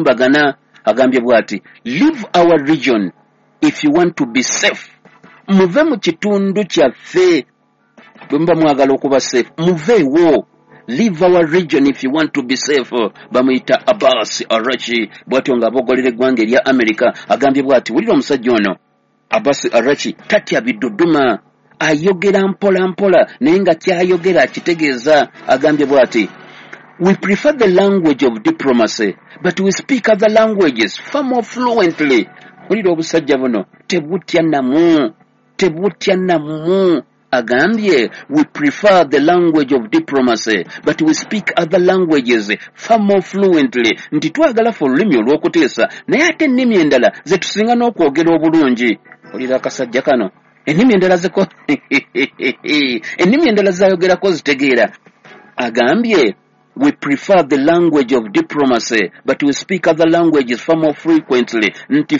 Bagana agambye bw'ati, "Leave our region if you want to be safe." Muve mu kitundu kyaffe bwe muba mwagala okuba safe, muveewo. "Leave our region if you want to be safe." Bamuyita Abbas Arachi, bw'atyo ng'abogolera eggwanga erya America. Agambye bw'ati, wulira omusajja ono Abbas Arachi, tatya biduduma, ayogera mpola mpola naye nga kyayogera akitegeeza. Agambye bw'ati, "We prefer the language of diplomacy, but we speak other languages far more fluently." Wulira obusajja buno, tebutya namu, tebutya namu. Agambye, "We prefer the language of diplomacy, but we speak other languages far more fluently." Nti twagala fe olulimi olw'okuteesa, naye ate ennimi endala ze tusinga n'okwogera obulungi. Olira akasajja kano, ennimi endala zeko, ennimi endala zayogerako zitegeera. Agambye, "We prefer the language of diplomacy, but we speak other languages far more frequently." Nti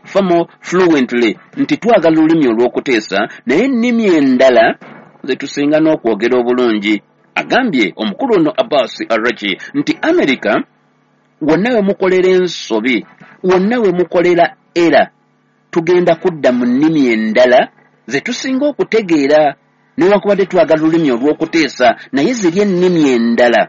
far more fluently, nti twagala olulimi olw'okuteesa, naye ennimi endala ze tusinga n'okwogera obulungi. Agambye omukulu ono Abbas Arachi nti America, wonna we mukolera ensobi, wonna we mukolera era, tugenda kudda mu nnimi endala ze tusinga okutegeera. Newankubadde twagala olulimi olw'okuteesa, naye ziri ennimi endala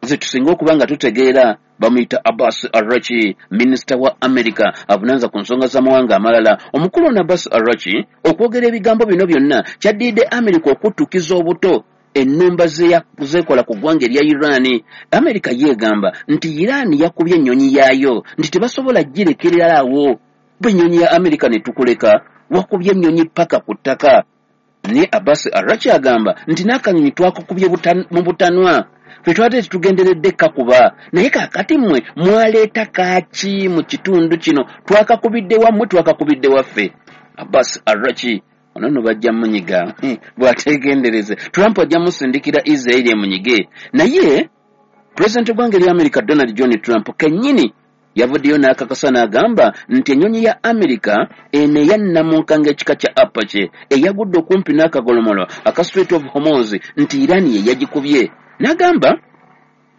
ze tusinga okuba nga tutegeera. Bamuyita Abbas Arachi, minisita wa America avunaanza ku nsonga z'amawanga amalala. Omukulu ono Abbas Arachi okwogera ebigambo bino byonna kyaddiridde America okuttukiza obuto ennumba zeekola ku ggwanga erya Iran. America yeegamba nti Iran yakubye ennyonyi yaayo, nti tebasobola girekererawo. Bwe ennyonyi ya America ne tukuleka, wakubye ennyonyi paka ku ttaka. Naye Abbas Arachi agamba nti n'akanyonyi twakakubye mu butanwa, ffe twate tetugenderedde kakuba, naye kaakati mmwe mwaleeta kaaki mu kitundu kino? Twakakubidde wammwe, twakakubidde waffe. Abbas Arachi ono nno bajja munyiga bw'ateegendereze. Trump ajja musindikira Israeli emunyige. Naye pulezidenti w'eggwanga erya America Donald John Trump kennyini yavuddeyo n'akakasa n'agamba nti ennyonyi ya America eno eyannamunkanga ekika kya Apache eyagudde okumpi n'akagolomolo aka Strait of Hormuz, nti Iran ye yagikubye. N'agamba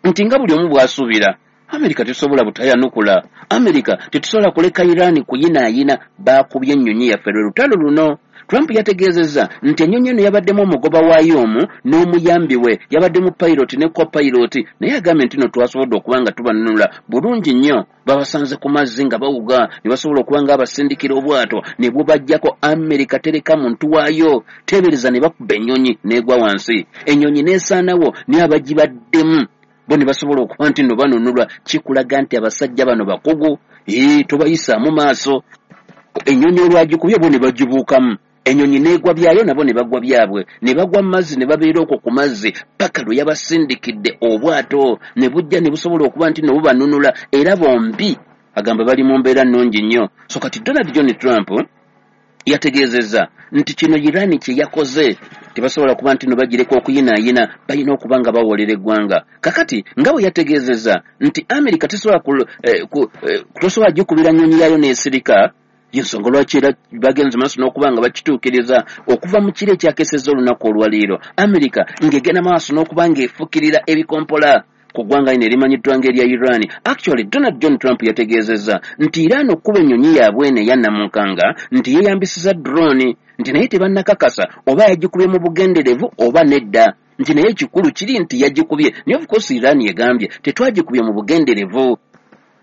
nti nga buli omu bw'asuubira, Amerika tetusobola butayanukula, Amerika tetusobola kuleka Iran kuyinaayina, baakubye ennyonyi yaffe, lwe lutalo luno. Trump yategeezezza nti ennyonyi eno yabaddemu omugoba waayo omu n'omuyambi we, yabaddemu pilot ne copilot, naye agambye nti no twasobodde okuba nga tubanunula bulungi nnyo. Babasanze ku mazzi nga bawuga, ne basobola okuba nga abasindikira obwato ne bubajjako. Amerika tereka muntu waayo. Teebereza ne bakuba ennyonyi n'egwa wansi, ennyonyi n'esaanawo, naye abagibaddemu bo ne basobola okuba nti nno banunulwa. Kikulaga nti abasajja bano bakugu, ee, tobayisaamu maaso. Ennyonyi olwagikubye, bo ne bagibuukamu, ennyonyi n'egwa byayo, nabo ne bagwa byabwe, ne bagwa mu mazzi, ne babeera okwo ku mazzi paka lwe yabasindikidde obwato ne bujja ne busobola okuba nti no bubanunula. Era bombi agamba bali mu mbeera nnungi nnyo. So kati Donald John Trump yategeezezza nti kino Iran kye yakoze tebasobola kuba nti no bagireka okuyinaayina, balina okuba nga bawolera eggwanga. Kakati nga bwe yategeezezza nti America tesobola tosobola gikubira nnyonyi yaayo n'esirika, yensonga lwaki era bagenze maaso n'okuba nga bakituukiriza. Okuva mu kiro ekyakesezza olunaku olwaleero, America ng'egenda maaso n'okuba ng'efukirira ebikompola ku ggwanga lino erimanyiddwa ng'erya Iran. Actually, Donald John Trump yategeezezza nti Iran okukuba ennyonyi yaabwe eno eyannamunkanga, nti yeeyambisiza drone, nti naye tebannakakasa oba yagikubye mu bugenderevu oba nedda, nti naye ekikulu kiri nti yagikubye. Naye of course Iran egambye tetwagikubye mu bugenderevu,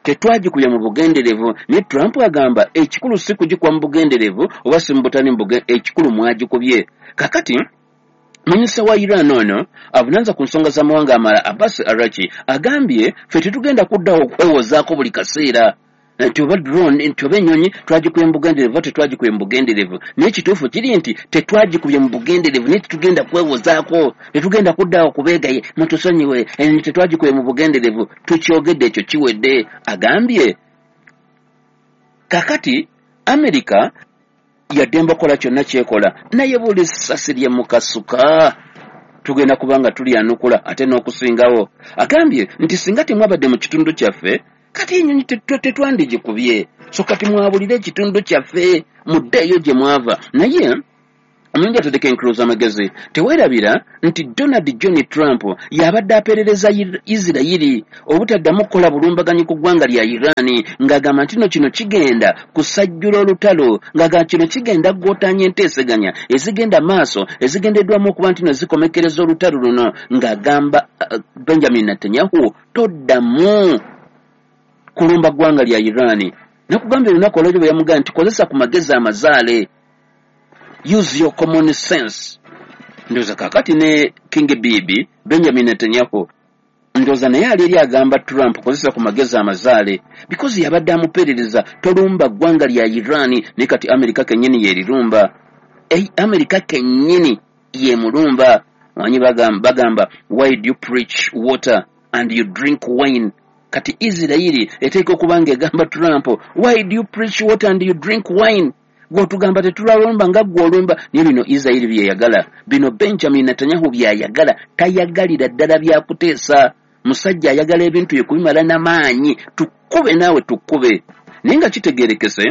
tetwagikubye mu bugenderevu. Naye Trump agamba ekikulu si kugikuba mu bugenderevu oba si mu butali mu, ekikulu mwagikubye. Kakati minisita wa Iran ono avunaanza ku nsonga z'amawanga amalala, Abbas Arachi, agambye ffe tetugenda kuddawo okwewozaako buli kaseera nti oba drone, nti oba ennyonyi twagikubye mu bugenderevu oba tetwagikubye mu bugenderevu. Naye ekituufu kiri nti tetwagikubye mu bugenderevu, naye tetugenda kwewozaako, tetugenda kuddawo kubeegaye mutusonyiwe, ennyonyi tetwagikubye mu bugenderevu, tukyogedde, ekyo kiwedde. Agambye kakati Amerika yaddembe okukola kyonna kyekola, naye buli ssasi lye mukasuka tugenda kuba nga tulyanukula ate n'okusingawo. Agambye nti singa temwabadde mu kitundu kyaffe, kati ennyonyi tetwandigikubye. So kati mwabulire ekitundu kyaffe, muddeeyo gye mwava. Naye Omulungi ateddeko enkulu z'amagezi, teweerabira nti Donald John Trump y'abadde apeerereza Isirayiri obutaddamu kukola bulumbaganyi ku ggwanga lya Iran, ng'agamba nti no kino kigenda kusajjula olutalo, ng'agamba kino kigenda kugootaanya enteeseganya ezigenda maaso ezigendeddwamu okuba nti no zikomekkereza olutalo luno, ng'agamba Benjamin Netanyahu toddamu kulumba ggwanga lya Iran. Nakugambye olunaku olwaliro bwe yamugamba nti kozesa ku magezi amazaale, use your common sense. Ndowooza kaakati ne King Bibi Benjamin Netanyahu ndowooza naye ali eri agamba Trump kozesa ku magezi amazaale, because yabadde amupeerereza tolumba ggwanga lya Iran, naye kati Amerika kennyini yeerirumba. Amerika kennyini yemulumba. Manyi bagamba why do you preach water and you drink wine? Kati Isirayiri eteeka okuba ng'egamba Trump why do you preach water and you drink wine? Gw'otugamba tetulalumba nga ggwe olumba. Naye bino Isirayiri byeyagala, bino Benjamin Netanyahu byayagala, tayagalira ddala byakuteesa. Musajja ayagala ebintu bye kubimala n'amaanyi, tukkube naawe tukkube. Naye nga kitegeerekese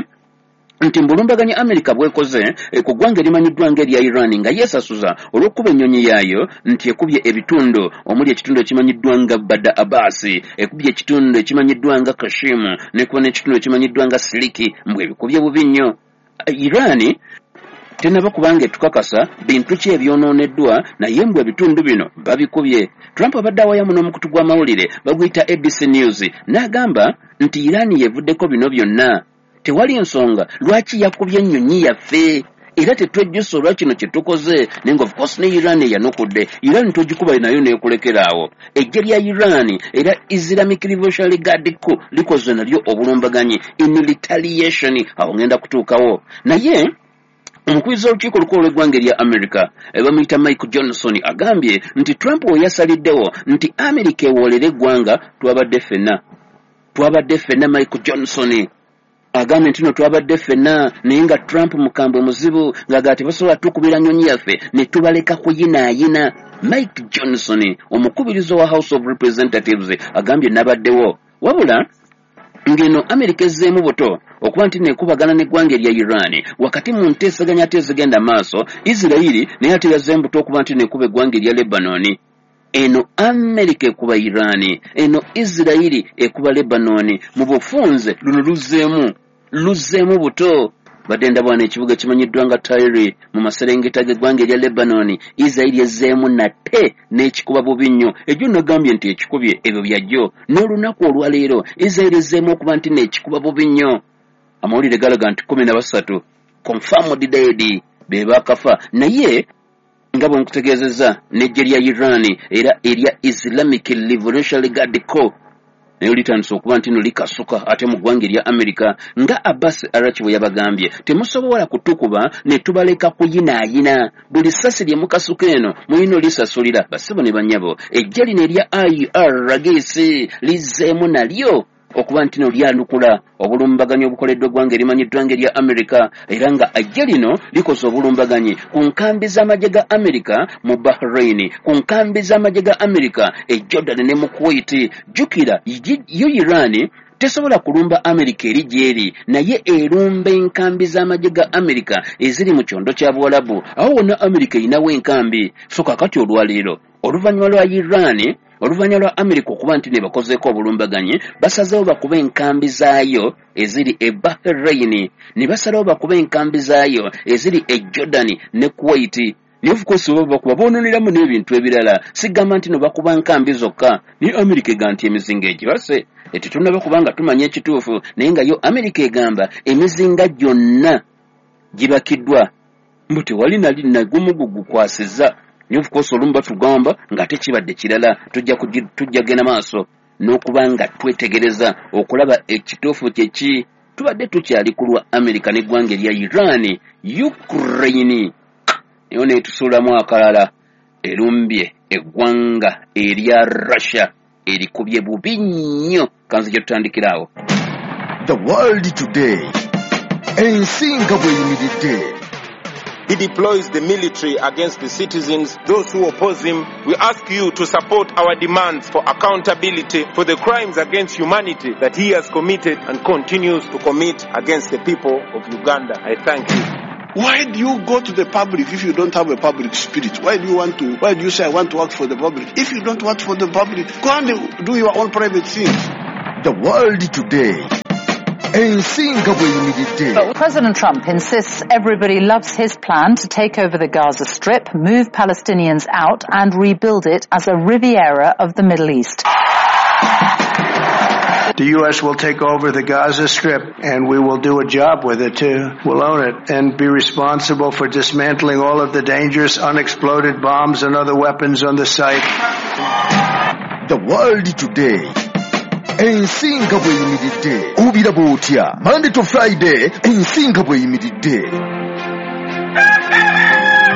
nti mbulumbaganya Amerika bwekoze ku ggwanga erimanyiddwa ng'erya Iran nga yeesasuza olw'okukuba ennyonyi yaayo nti ekubye ebitundu omuli ekitundu ekimanyiddwa nga Bada Abbas, ekubye ekitundu ekimanyiddwa nga Kashimu, n'ekuba n'ekitundu ekimanyiddwa nga Siliki, mbwe ebikubye bubi nnyo. Iran tenaba kubanga etukakasa bintu ki ebyonooneddwa, naye mbwe ebitundu bino babikubye. Trump abadde awayamu n'omukutu gw'amawulire baguyita ABC News n'agamba nti Iran yevuddeko bino byonna, tewali nsonga lwaki yakubye ennyonyi yaffe, era tetwejjusa olwa kino kye tukoze. Naye nga of course ne Iran eyanukudde, Iran togikuba nayo n'ekulekera awo. Eggye lya Iran era Islamic Revolutionary Guard Corps likoze nalyo obulumbaganyi in retaliation, awo ngenda kutuukawo. Naye omukubiriza w'olukiiko olukulu olw'eggwanga erya America bamuyita Mike Johnson agambye nti Trump we yasaliddewo nti America ewoolere eggwanga, twabadde ffenna. Mike Johnson agambye nti no twabadde ffenna, naye nga Trump mukambwe muzibu, ng'agamba tebasobola tukubira nnyonyi yaffe ne tubaleka kuyinaayina. Mike Johnson omukubiriza wa House of Representatives agambye nabaddewo, wabula ng'eno Amerika ezzeemu buto okuba nti nekubagana n'eggwanga erya Iran wakati mu nteeseganya ate ezigenda maaso. Isirayiri naye ate yazzeemu buto okuba nti nekuba eggwanga erya Lebanon. Eno Amerika ekuba Iran, eno Isirayiri ekuba Lebanon. Mu bufunze luno luzzeemu buto. Badde ndabwana ekibuga ekimanyiddwa nga Tyre mu maserengeta g'eggwanga erya Lebanon, Isirayiri ezzeemu nate n'ekikuba bubi nnyo. Ejjo nagambye nti ekikubye ebyo byajjo, n'olunaku olwaleero Isirayiri ezzeemu okuba nti n'ekikuba bubi nnyo. Amawulire galaga nti 13 confirmed dead be baakafa, naye nga bwe nkutegeezezza n'eggye lya Iran era erya Islamic Revolutionary Guard Corps naye litandise okuba nti no likasuka ate mu ggwanga erya Amerika, nga Abbas Arachi bwe yabagambye temusobola kutukuba ne tubaleka kuyinaayina, buli ssasi lye mukasuka eno mulina olisasulira. Bassebo ne bannyabo, eggye lino erya IRGC lizzeemu nalyo okuba nti no lyanukula obulumbaganyi obukoleddwa eggwanga erimanyiddwa ng'erya Amerika, era nga eggye lino likoze obulumbaganyi ku nkambi z'amagye ga Amerika mu Bahrain, ku nkambi z'amagye ga Amerika e Jordan ne mu Kuwait. Jjukira yo Iran tesobola kulumba Amerika eri gy'eri, naye erumba enkambi z'amagye ga Amerika eziri mu kyondo kya Buwalabu. Awo wonna Amerika erinawo enkambi. So kaakati olwaleero oluvannyuma lwa Iran, oluvannyuma lwa Amerika okuba nti ne bakozeeko obulumbaganyi, basazeewo bakube enkambi zaayo eziri e Bahrain, ne basalawo bakube enkambi zaayo eziri e Jordan ne Kuwait. Naye of course baba bakuba boononeramu n'ebintu ebirala, sigamba nti no bakuba nkambi zokka. Naye Amerika egamba nti emizinga egibase, tetunnaba kubanga tumanya ekituufu, naye nga yo Amerika egamba emizinga gyonna gibakiddwa, mbu tewali nali nagumu gukwasizza. Naye of course olumu batugamba ng'ate kibadde kirala. Tujja genda maaso n'okuba nga twetegereza okulaba ekituufu kye ki. Tubadde tukyali ku lwa Amerika n'eggwanga erya Iran, Ukraine nayo neetusuulamu akalala, erumbye eggwanga erya Russia, erikubye bubi nnyo. Kanzi gye tutandikira awo. The World Today, ensi nga bw'eyimiridde. He deploys the military against the citizens, those who oppose him. We ask you to support our demands for accountability for the crimes against humanity that he has committed and continues to commit against the people of Uganda. I thank you. Why do you go to the public if you don't have a public spirit? Why do you want to, why do you say I want to work for the public? If you don't work for the public, go and do your own private things. The World Today. Ensi nga bw'eyimiridde. But President Trump insists everybody loves his plan to take over the Gaza Strip, move Palestinians out and rebuild it as a Riviera of the Middle East. The U.S. will take over the Gaza Strip, and we will do a job with it, too. We'll own it and be responsible for dismantling all of the dangerous unexploded bombs and other weapons on the site. The World Today. Ensi nga bw'eyimiridde. Obiraba otya? Monday to Friday, ensi nga bw'eyimiridde.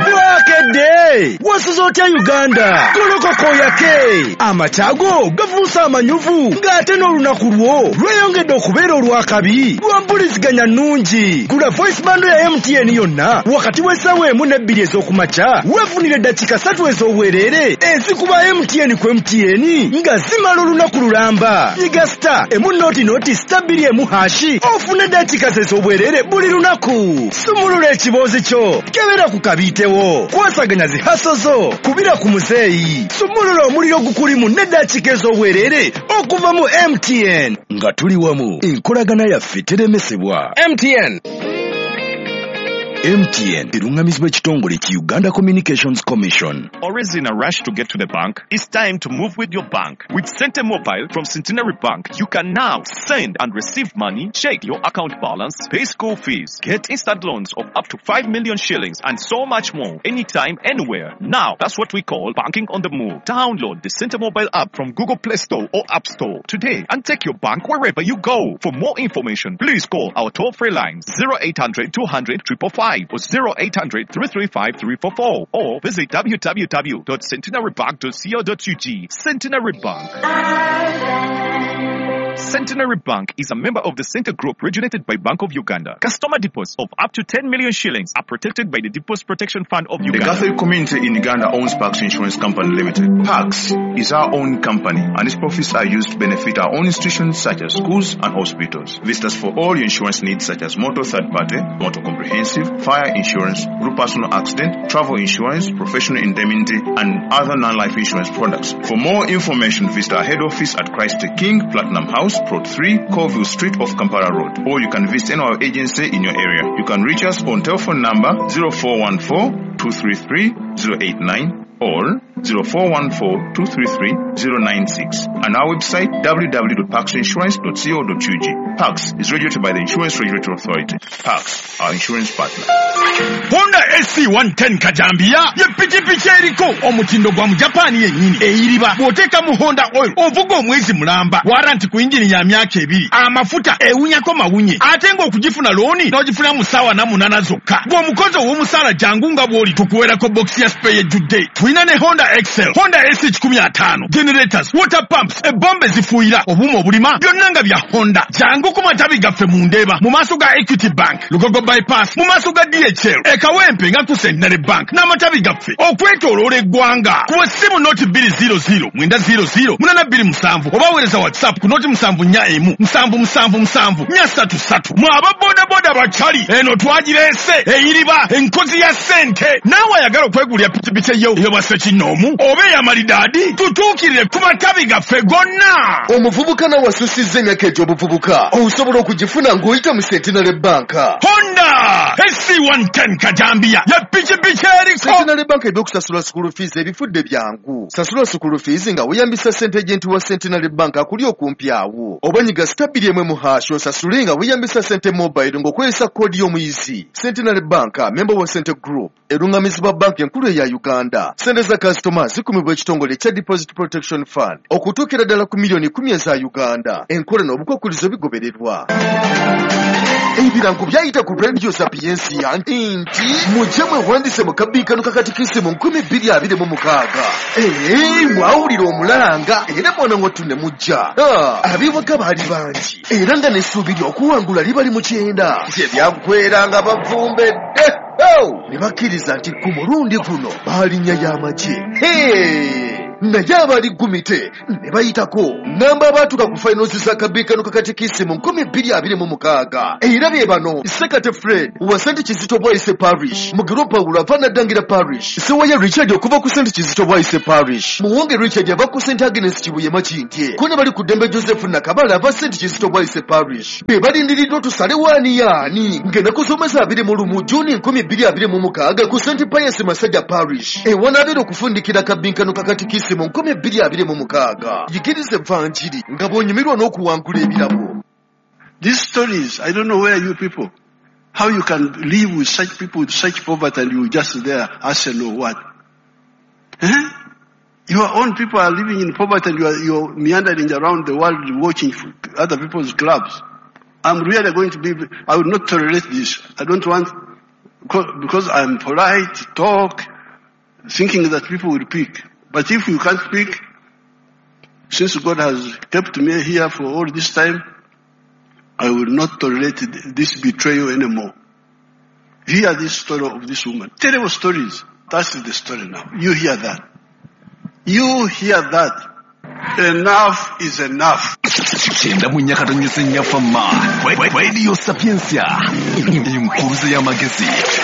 Bwakedde wasuze otya Uganda? Golokoka oyake. Amakyago gafuuse amanyuvu, ng'ate n'olunaku lwo lweyongedde okubeera olw'akabi lwa mpuliziganya nnungi. Gula voice bundle ya MTN yonna wakati w'essaawa 1 ne 2 ez'okumakya, weefunire eddakiika 3 ez'obwereere ezikuba MTN ku MTN nga zimala olunaku lulamba. Nyiga star 1 noti noti star 2 emu hashi ofune eddakiika ez'obwereere buli lunaku. Sumulula ekiboozi kyo, kebera ku kabiitewo, kwasaganya zihaso zo, kubira ku muzeeyi, sumulula omuliro gukulimu n'eddakiika ez'obwereere okuva mu MTN. Nga tuli wamu, enkolagana yaffe teremesebwa. MTN. MTN erungamizibwa ekitongole ki Uganda Communications Commission. Always in a rush to get to the bank? It's time to move with your bank. With Sente Mobile from Centenary Bank, you can now send and receive money, check your account balance, pay school fees, get instant loans of up to 5 million shillings, and so much more, anytime, anywhere. Now, that's what we call banking on the move. Download the Sente Mobile app from Google Play Store or App Store today and take your bank wherever you go. For more information, please call our toll-free lines 0800 200 555 or 0800 335 344 or visit www.centenarybank.co.ug. Centenary Bank. Centenary Bank is a member of the Center Group regulated by Bank of Uganda. Customer deposits of up to 10 million shillings are protected by the Deposit Protection Fund of Uganda. The Catholic community in Uganda owns Pax Insurance Company Limited. Pax is our own company and its profits are used to benefit our own institutions such as schools and hospitals. Visit us for all your insurance needs such as motor third party, motor comprehensive, fire insurance, group personal accident, travel insurance, professional indemnity, and other non-life insurance products. For more information, visit our head office at Christ the King, Platinum House, Plot 3, Colville Street off Kampala Road, or you can visit any of our agency in your area. You can reach us on telephone number 0414 233 089 or 0414 233 096 and our website www.paxinsurance.co.ug. Pax is regulated by the Insurance Regulatory Authority. Pax, our insurance partner. Honda SC110 Kajambia ye pikipiki eriko omutindo gwa Mujapani yennyini eyiriba. Bw'oteeka mu Honda oil ovuga omwezi mulamba, waranti ku yingini ya myaka 2, amafuta ewunyako mawunye, ate ng'okugifuna looni n'ogifuna mu ssaawa 8 zokka. Bw'omukozi ow'omusaala jangu nga bw'oli tukuweerako bokisi ya spare ejjudde. Tulina ne Honda Excel, Honda SC150, generators, water pumps, ebombe zifuuyira, obuuma obulima, byonna nga bya Honda. Jangu ku matabi gaffe mu Ndeeba, mu maaso ga Equity Bank, Lugogo Bypass, mu maaso ga DHL, e Kawempe nga ku Centenary Bank, n'amatabi gaffe okwetooloola eggwanga. Kuba essimu noti 200 900 827 oba weereza WhatsApp ku noti 741 777 433. Mwe aba bodaboda bakyali, eno twagireese eyiriba enkozi ya ssente. Naawe ayagala okwegulira pikipiki eyo ey'obwa kinoomu oba ey'amalidaadi, tutuukirire ku matabi gaffe gonna. Omuvubuka nawe asusizza emyaka egy'obuvubuka osobola okugifuna ng'oyita mu Centenary Bank. Honda SC110 Kajambia ye pikipiki eriko. Centenary Bank ebyokusasula school fees ebifudde byangu. Sasula school fees nga weeyambisa ssente agent wa Centenary Bank akuli okumpi awo, oba nyiga star 2 mu hash osasule nga weeyambisa Sente Mobile ng'okozesa koodi y'omuyizi. Centenary Bank, member wa Center Group, erungamizibwa banki enkulu eya Uganda. Sente za kasitoma zikumibwa ekitongole ekya Deposit Protection Fund okutuukira ddala ku miliyoni 10 eza Uganda. Enkola n'obukwakkulizo bigobererwa. Ebirango byayita ku Radio Sapiensia nti mujje mwewandiise mu kabbinkano ka katikisimu 2026. Mwawulira omulalanga era mwana wattu ne mujja. Ab'ewaka baali bangi era nga n'essuubi ly'okuwangula libali mu kyenda. Gye byaggweera nga bavumbedde. Ne bakkiriza nti ku mulundi guno baalinnya y'amagye. Naye abali gumite ne bayitako. Namba abaatuuka ku finals za kabiikano ka katikisimu 2026 era be bano: Sekate Fred wa St Kizito Bwaise Parish, Mugiro Pawulo ava Naddangira Parish, Sewaya Richard okuva ku St Kizito Bwaise Parish, Muwonge Richard ava ku St Agnes Kibuye Makindye, ko ne bali ku ddembe Joseph Nakabala ava St Kizito Bwaise Parish. Be balindiriddwa tusalewo ani yaani ng'ennaku z'omwezi 21 Juni 2026 ku St Pius Masajja Parish ewanabeera okufundikira kabinkano ka katikisimu 2026. Yigiriza evanjiri nga bw'onyumirwa n'okuwangula ebirabo. These stories, I don't know where you people, how you can live with such people, with such poverty, and you just there, Arsenal, what? Eh? Your own people are living in poverty and you're meandering around the world watching other people's clubs. I'm really going to be, I will not tolerate this. I don't want, because I'm polite, talk, thinking that people will pick. But if you can't pick, since God has kept me here for all this time, I will not tolerate this betrayal anymore. Hear this story of this woman. Terrible stories. That's the story now. You hear that. You hear that. Enough is enough. Kyenda mu nyakatonyesa ennyafama Radio Sapientia, enkuruze y'amagezi,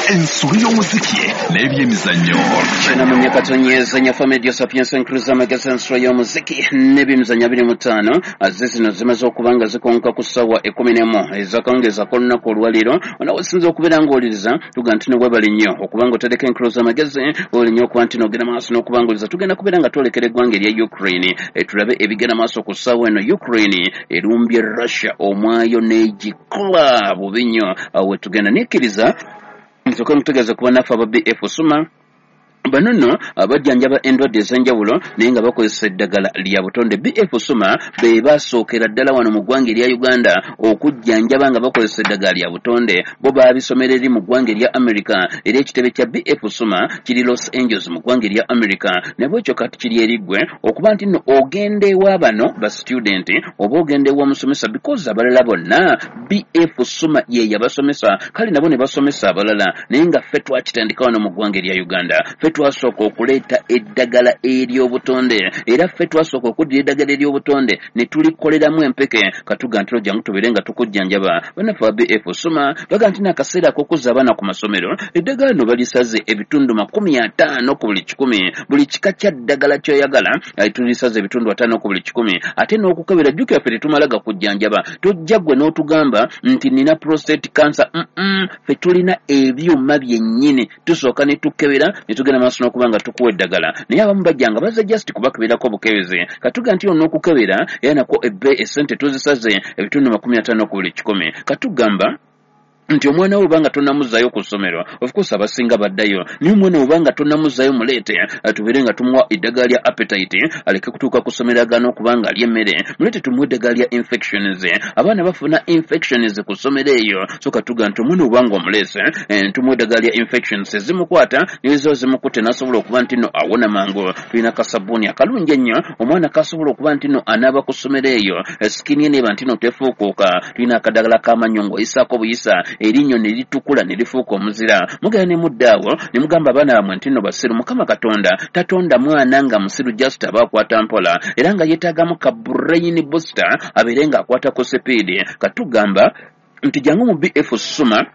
ensolo y'omuziki n'ebyemizannyo. Kyenda mu nyakatonyesa ennyafama Radio Sapientia, enkuruze y'amagezi, ensolo y'omuziki n'ebyemizannyo 25. Azze zino zimaze okuba nga zikonka ku ssaawa 11 ezakawungeeza k'olunaku olwaleero. Onawe sinza okubeera ng'owuliriza, tuga nti nowebale nnyo okuba nga otereka enkuruze y'amagezi, webale nnyo okuba nti n'ogenda maaso n'okubanguliriza. Tugenda kubeera nga twolekera eggwanga erya Ukraine, tulabe ebigenda maaso ku ssaawa eno. Ukraine erumbye Russia omwayo n'egikola bubi nnyo. Awo wetugenda nekkiriza nsooke mutegeeze kuba naffe aba BF Suma bano nno bajjanjaba endwadde ez'enjawulo naye nga bakozesa eddagala lya butonde. BF Suma be basookera ddala wano mu ggwanga erya Uganda okujjanjaba nga bakozesa eddagala lya butonde. Bo baabisomera eri mu ggwanga erya America, era ekitebe kya BF Suma kiri Los Angeles mu ggwanga erya America. Nabwekyo kati kiri eri ggwe okuba nti nno ogenda ewa bano ba student oba ogenda ewa omusomesa, because abalala bonna BF Suma ye yabasomesa, kale nabo ne basomesa abalala, naye nga ffe twakitandika wano mu ggwanga erya Uganda. Ffe twasooka okuleeta eddagala ery'obutonde, era ffe twasooka okuddira eddagala ery'obutonde ne tulikoleramu empeke. Katuga nti jangu tubeere nga tukujjanjaba. Bannaffe aba BF Suma baga nti n'akaseera ak'okuzza abaana ku masomero, eddagala lino balisaze ebitundu 50 ku buli 100. Buli kika kya ddagala ky'oyagala tulisaze ebitundu 50 ku buli 100. Ate n'okukebera, jjukira ffe tetumala gakujjanjaba. Tojja ggwe n'otugamba nti nina prostate cancer. Ffe tulina ebyuma byennyini, tusooka ne tukebera ne tugenda maaso n'okuba nga tukuwa eddagala. Naye abamu bajja nga bazza just kubakeberako bukebeze. Katuga nti n'okukebera era nakwo ebbe essente tuzisaze ebitundu 50 ku buli 100. Katugamba nti omwana wo obanga tonnamuzaayo ku ssomero, of course abasinga baddayo, naye omwana wo obanga tonnamuzaayo muleete tubeere nga tumuwa eddagala lya appetite aleke kutuuka ku ssomero agaana okuba nga alya emmere. Muleete tumuwe eddagala lya infections. Abaana bafuna infections ku ssomero eyo, so katuga nti omwana obanga omuleese tumuwa eddagala lya infections ezimukwata naye ziba zimukutte n'asobola okuba nti nno awona mangu. Tulina kasabbuuni akalungi ennyo omwana kasobola okuba nti nno anaaba ku ssomero eyo, skin ye neeba nti nno tefuukuuka. Tulina akadagala k'amannyo ng'oyisaako buyisa erinnyo ne litukula ne lifuuka omuzira. Mugenda ne mudda awo ne mugamba abaana bammwe nti nno basiru. Mukama Katonda tatonda mwana nga musiru, just aba akwata mpola era nga yeetaagamu ka brain booster abeere ng'akwata ku sipiidi. Katugamba nti jangu mu BF Suma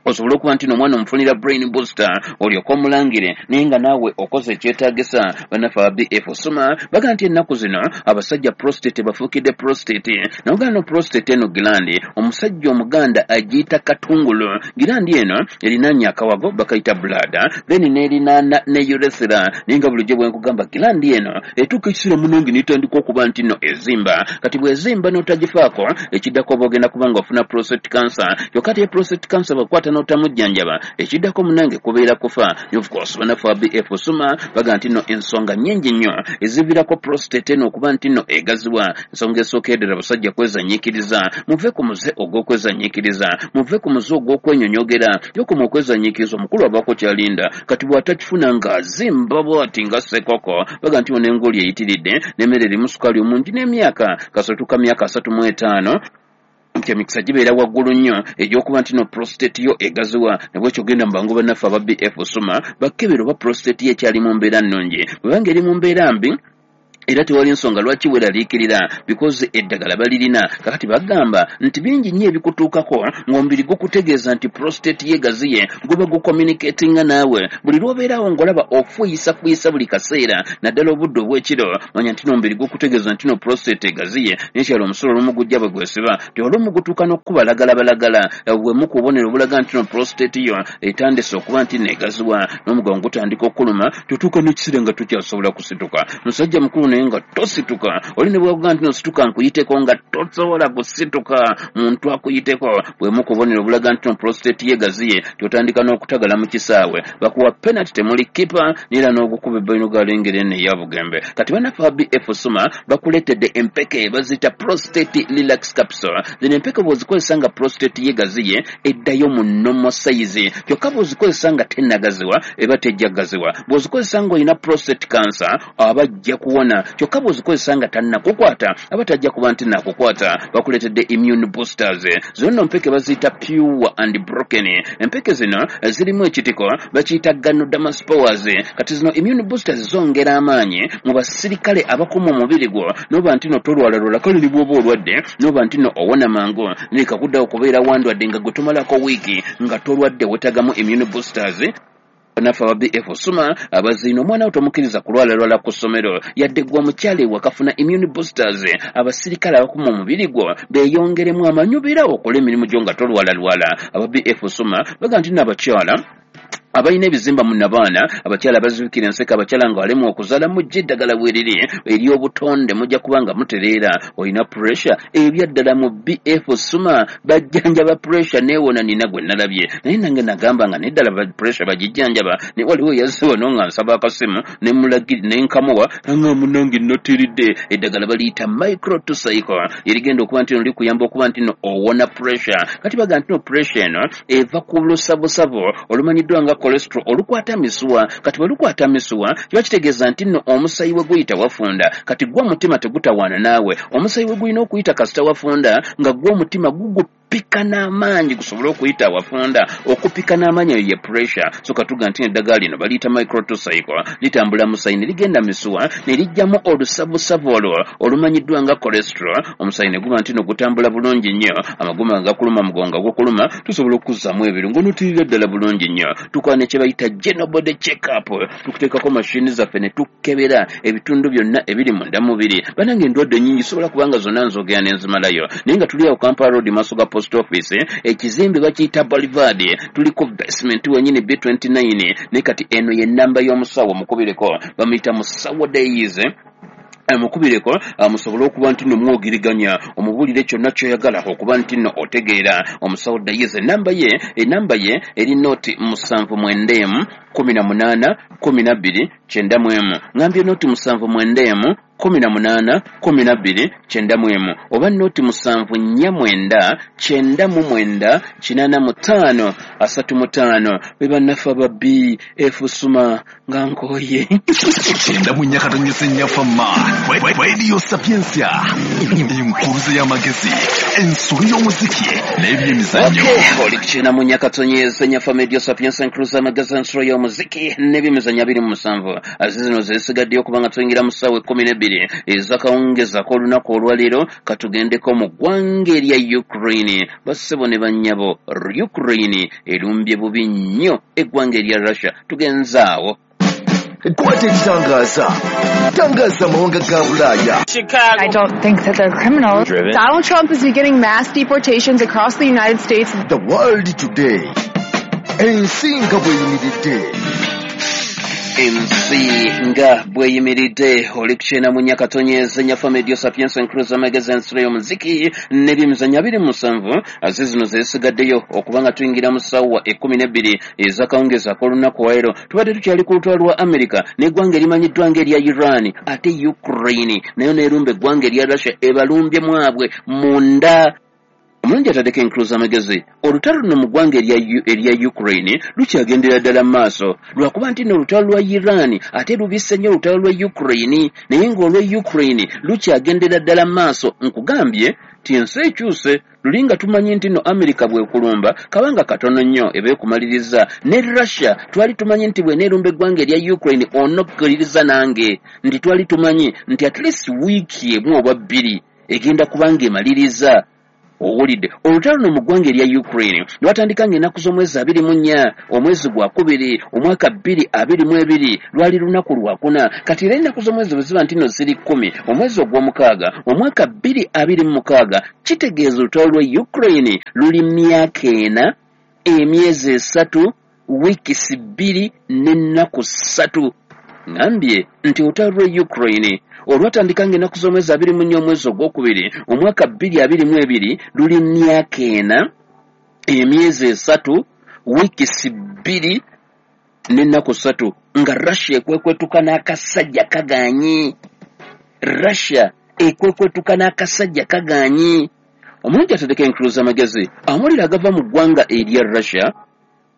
osobola okuba nti n'omwana omufunira brain booster olyoke omulangire naye nga naawe okoze ekyetaagisa. Bannaffe aba BF Suma baga nti ennaku zino abasajja prostate bafuukidde prostate. Nagamba no prostate eno gland omusajja omuganda agiyita katungulu. Gland eno erinaanye akawago bakayita bladder, then n'erinaana ne urethra. Naye nga bulijjo bwe nkugamba, gland eno etuuka ekiseera munange n'etandika okuba nti nno ezimba. Kati bw'ezimba n'otagifaako, ekiddako oba ogenda kuba nga ofuna prostate cancer. Kyokka ate prostate cancer bw'ekwata n'otamujjanjaba, ekiddako munange kubeera kufa. Of course bannaffe aba BF Suma baga nti nno ensonga nnyingi nnyo eziviirako prostate eno okuba nti nno egaziwa. Ensonga esooka eddala, basajja kwezanyiikiriza. Muve ku muze ogw'okwezanyiikiriza, muve ku muze ogw'okwenyonyogera. Yokoma okwezanyiikiriza, omukulu abaako kyalinda, kati bw'atakifuna ng'azimba bw'ati nga ssekoko. Baga nti ono engooli eyitiridde n'emmere erimu sukaali omungi n'emyaka kasootuka myaka 35. Nti emikisa gibeera waggulu nnyo egy'okuba nti no prostate yo egaziwa. Nabwekyo genda mu bangu bannaffe aba BF Suma bakebera oba prostate yo ekyali mu mbeera nnungi. Bwebanga eri mu mbeera mbi, era tewali nsonga lwaki weeraliikirira, because eddagala balirina. Kakati bagamba nti bingi nnyo ebikutuukako ng'omubiri gukutegeeza nti prostate yegaziye, guba gucommunicatinga naawe. Buli lw'obeerawo ng'olaba ofuuyisafuyisa buli kaseera, naddala obudde obw'ekiro, manya nti n'omubiri gukutegeeza nti no prostate egaziye. Nekyalo omusulo olumu gujja bwe gwesiba, ti olumu gutuuka n'okukubalagalabalaga, bwemu ku bubonero obulaga nti no prostate yo etandise okuba nti neegaziwa. N'omugongo gutandika okuluma, tutuuka n'ekiseera nga tokyasobola kusituka. Musajja mukulu naye nga tosituka, oli ne bwakuga nti nosituka nkuyiteko, nga tosobola kusituka muntu akuyiteko. Bwemu ku bubonero obulaga nti no prostate yegaziye, tyotandika n'okutagala mu kisaawe, bakuwa penalty temuli kipa, neera n'ogukuba ebbalino galengera eno eya Bugembe. Kati bannaffe aba BF Suma bakuleetedde empeke baziyita prostate relax capsule. Zino empeke bw'ozikozesa nga prostate yegaziye, eddayo mu normal size. Kyokka bw'ozikozesa nga tennagaziwa, eba tejja gaziwa. Bw'ozikozesa ng'olina prostate cancer, aba ajja kuwona. Kyokka bw'ozikozesa nga tannakukwata, aba tajja kuba nti nakukwata. Bakuleetedde immune boosters. Zino nno mpeke baziyita pure and broken. Empeke zino zirimu ekitiko bakiyita Ganoderma spores. Kati zino immune boosters zongera amaanyi mu basirikale abakuuma omubiri gwo, noba nti no tolwalalwala, kale ne bw'oba olwadde noba nti no owona mangu. Leka kuddawo kubeera wandwadde nga gwe tomalako wiiki nga tolwadde, weetagamu immune boosters. Naffe aba BF Suma abaziina, omwana wo tomukkiriza kulwalalwala ku ssomero, yadde gwe omukyala ewakafuna immune boosters, abasirikale abakuma omubiri gwo beeyongeremu amanyi, obeerawo okola emirimu gyo nga tolwalalwala. Aba BF Suma baga nti n'abakyala abalina ebizimba mu nabaana, abakyala abazibikira enseke, abakyala nga balemu okuzaala, mujja eddagala bweriri ery'obutonde, mujja kuba nga mutereera. Olina pressure, ebyaddala mu BF Suma bajjanjaba pressure neewona. Nina gwe nalabye naye nange nagamba nga neddala pressure bagijjanjaba, naye waliwo eyazze wano nga nsaba akasimu nenkamuwa nga munange notiridde. Eddagala baliyita micro to cycle, erigenda okuba nti no likuyamba okuba nti no owona pressure. Kati baga nti no pressure eno eva ku lusavusavu olumanyiddwa nga cholesterol olukwata misuwa. Kati bwe lukwata misuwa, kiba kitegeeza nti nno omusayi we guyita wafunda. Kati gwe omutima tegutawaana naawe, omusayi we gulina okuyita kasita wafunda, nga gwe omutima gugupika n'amaanyi gusobole okuyita awafunda. Okupika n'amaanyi eyo ye pressure. So katuga nti eddagala lino baliyita microtocycle, litambula musayi ne ligenda misuwa ne lijjamu olusavusavu olwo olumanyiddwa nga cholesterol. Omusayi ne guba nti no gutambula bulungi nnyo. Amagumba nga gakuluma, mugongo gukuluma, tusobola okuzzaamu ebirungo notirira ddala bulungi nnyo. Tukola ne kye bayita general body check up, tukuteekako mashini zaffe ne tukebera ebitundu byonna ebiri munda mubiri. Banange, endwadde nnyingi, sobola kubanga zonna nzogera nenzimalayo, naye nga tuli awo Kampala Road, maaso ga post office, ekizimbe bakiyita Boulevard, tuliko basement wenyini B29. Naye kati eno ye namba y'omusawo, mukubireko, bamuyita Musawo Days. Mukubireko musobole okuba nti nno mwogeriganya, omubuulire kyonna kyoyagala okuba nti nno otegeera. Omusawo Dayize, enamba ye eri 079 18 12 91. Ngambye 079 18 12 91, oba 0749 99 85 35. Be bannaffe aba BF Suma. Nga nkooye. 94.4 Fama Radio Sapientia, enkuluze y'amagezi, ensolo y'omuziki n'ebyemizannyo. Oli ku 94.4 Fama Radio Sapientia, enkuluze y'amagezi, ensolo y'omuziki n'ebyemizannyo 27. Zino zesigaddeyo kubanga tuyingira mu ssaawa 12 ezakawungezako olunaku olwaleero. Katugendeko mu ggwanga erya Ukraine. Bassebo ne bannyabo, Ukraine erumbye bubi nnyo eggwanga erya Russia. Tugenzaawo. Kwata ekitangaza, tangaza amawanga ga Bulaaya. I don't think that they're criminals. Donald Trump is beginning mass deportations across the United States. The World Today, ensi nga bweyimiridde. Ensi nga bweyimiridde. Oli ku 94.4 Fama Radio Sapientia, enkuluze amagezi, ensolo y'omuziki n'ebyemizannyo 27. Aze zino zesigaddeyo okuba nga tuyingira mu ssaawa 12 ezakawungezi ak'olunaku waero. Tubadde tukyali ku lutalo lwa America n'eggwanga erimanyiddwa ng'erya Iran, ate Ukraine nayo neerumba eggwanga erya Russia, ebalumbye mwabwe munda. Omulungi ataddeko enkuluza amagezi, olutalo luno mu ggwanga erya Ukraine lukyagendera ddala mu maaso, lwakuba nti nno olutalo lwa Iran ate lubisse nnyo olutalo lwa Ukraine, naye ng'olwa Ukraine lukyagendera ddala mu maaso. Nkugambye. Ti ensi ekyuse. Luli nga tumanyi nti no Amerika bwekulumba kabanga katono nnyo ebeekumaliriza, ne Russia twali tumanyi nti bw'eneerumba eggwanga erya Ukraine onokkuliriza nange nti twali tumanyi nti at least wiiki emu oba bbiri egenda kubanga emaliriza. Owulidde olutalo luno mu ggwanga erya Ukraine lwatandika ng'ennaku z'omwezi 24 omwezi gwa kubiri omwaka 2022, lwali lunaku lwakuna. Kati era ennaku z'omwezi bwe ziba nti nno ziri 10 omwezi ogw'omukaaga omwaka 2026, kitegeeza olutalo lwa Ukraine luli myaka 4 emyezi 3 wiikisi 2 n'ennaku 3. Ngambye nti olutalo lwa Ukraine olwatandika ng'ennaku z'omwezi 24 omwezi ogwokubiri omwaka 2022 luli myaka 4 emyezi 3 wiikisi 2 n'ennaku 3 nga Russia ekwekwetuka n'akasajja kagaanyi. Russia ekwekwetuka n'akasajja kagaanyi. Omulungi atandika enkuluza amagezi amawulire agava mu ggwanga erya Russia.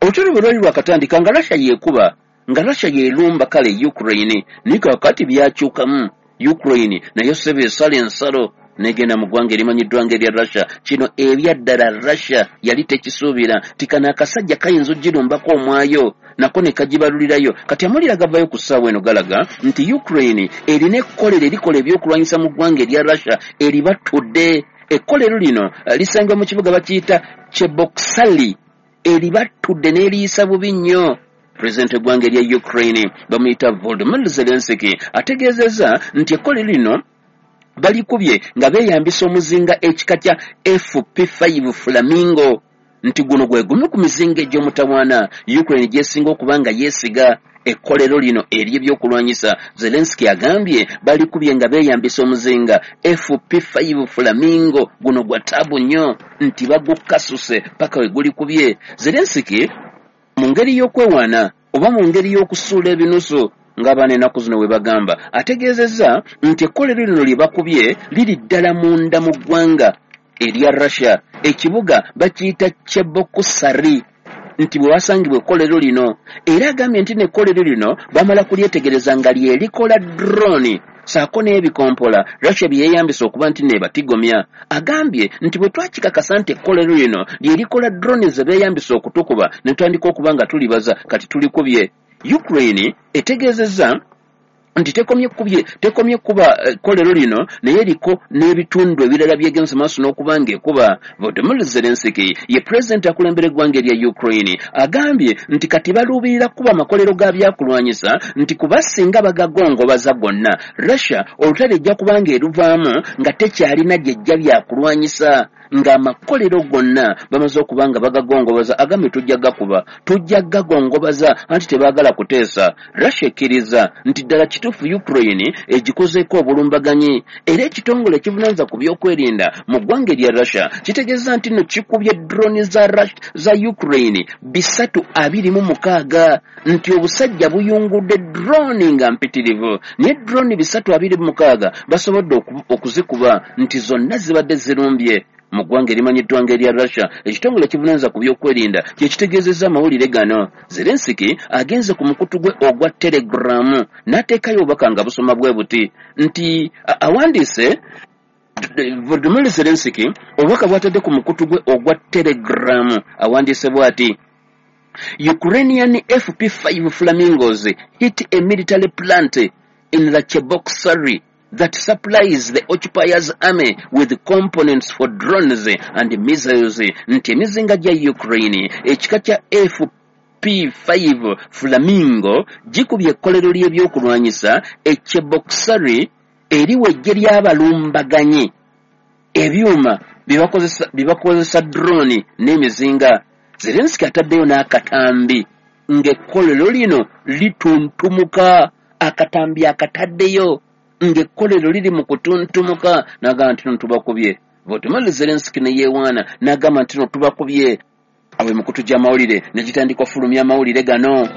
Olutalo bwe lwali lwakatandika nga Russia yeekuba, nga Russia yeerumba kale Ukraine, naye kaakati byakyukamu. Ukraine nayo sebe esala ensalo negenda mu ggwanga erimanyiddwa ng'erya Russia. Kino ebyaddala Russia yali tekisuubira nti kano akasajja kayinza ogirumbako omwayo nako ne kagibalulirayo. Kati amawulire agavayo ku ssaawa eno galaga nti Ukraine erina ekkolero erikola ebyokulwanyisa mu ggwanga erya Russia eribatudde. Ekkolero lino lisangibwa mu kibuga bakiyita Cheboksary, eribatudde n'eriyisa bubi nnyo. Pulezidenti w'eggwanga erya Ukraine bamuyita Volodymyr Zelensky ategeezezza nti ekkolero lino balikubye nga beeyambisa omuzinga ekika kya FP5 Flamingo, nti guno gwe gumu ku mizinga egy'omutawaana Ukraine gy'esinga okuba nga yeesiga. Ekkolero lino ery'ebyokulwanyisa Zelensky agambye balikubye nga beeyambisa omuzinga FP5 Flamingo, guno gwa taabu nnyo nti bagukasuse paka we gulikubye. Zelensky mu ngeri y'okwewaana oba mu ngeri y'okusuula ebinusu ng'abaana ennaku zino bwe bagamba, ategeezezza nti ekkolero lino lye bakubye liri ddala munda mu ggwanga erya Russia. Ekibuga bakiyita Cheboksary nti bwe wasangibwa ekkolero lino. Era agambye nti n'ekkolero lino bamala kulyetegereza nga lye likola drone saako n'ebikompola Russia bye yeeyambisa okuba nti neebatigomya. Agambye nti bwe twakikakasa nti ekkolero lino lye likola drone ze beeyambisa okutukuba ne tutandika okuba nga tulibaza, kati tulikubye. Ukraine etegeezezza nti tekomye kuba ekkolero lino naye eriko n'ebitundu ebirala byegenze maaso n'okuba ng'ekuba. Volodymyr Zelensky ye pulezidenti akulembera eggwanga erya Ukraine agambye nti kati baluubirira kuba amakolero ga byakulwanyisa nti kuba singa bagagongobaza gonna Russia olutalo ejja kuba ng'eruvaamu nga tekyalina gyejja byakulwanyisa, ng'amakolero gonna bamaze okuba nga bagagongobaza. Agambye tujja gakuba, tujja gagongobaza anti tebaagala kuteesa. Russia ekkiriza nti ddala kituufu Ukraine egikozeeko obulumbaganyi, era ekitongole ekivunaanyizibwa ku byokwerinda mu ggwanga erya Russia kitegeeza nti nno kikubye drone za Ukraine 326, nti obusajja buyungudde drone nga mpitirivu, naye drone 326 basobodde okuzikuba nti zonna zibadde zirumbye mu ggwanga erimanyiddwa ng'erya Russia. Ekitongole ekivunaanyizibwa ku byokwerinda kye kitegeezezza amawulire gano. Zelensky agenze ku mukutu gwe ogwa Telegram n'ateekayo obubaka nga busoma bwe buti nti awandiise Volodymyr Zelensky obubaka bw'atadde ku mukutu gwe ogwa Telegram awandiise bw'ati: Ukrainian FP5 Flamingos hit a military plant in the Cheboksary that supplies the occupiers' army with components for drones and missiles. Nti emizinga gya Ukraine ekika kya FP5 Flamingo gikubye ekkolero ly'ebyokulwanyisa e Cheboksary eriwa eggye ly'abalumbaganyi ebyuma bye bakozesa drone n'emizinga. Zelensky ataddeyo n'akatambi ng'ekkolero lino lituntumuka, akatambi akataddeyo ng'ekkolero liri mu kutuntumuka, n'agamba nti no tubakubye. Volodymyr Zelensky ne yeewaana n'agamba nti no tubakubye. Awo emikutu gy'amawulire ne gitandika okufulumya amawulire gano.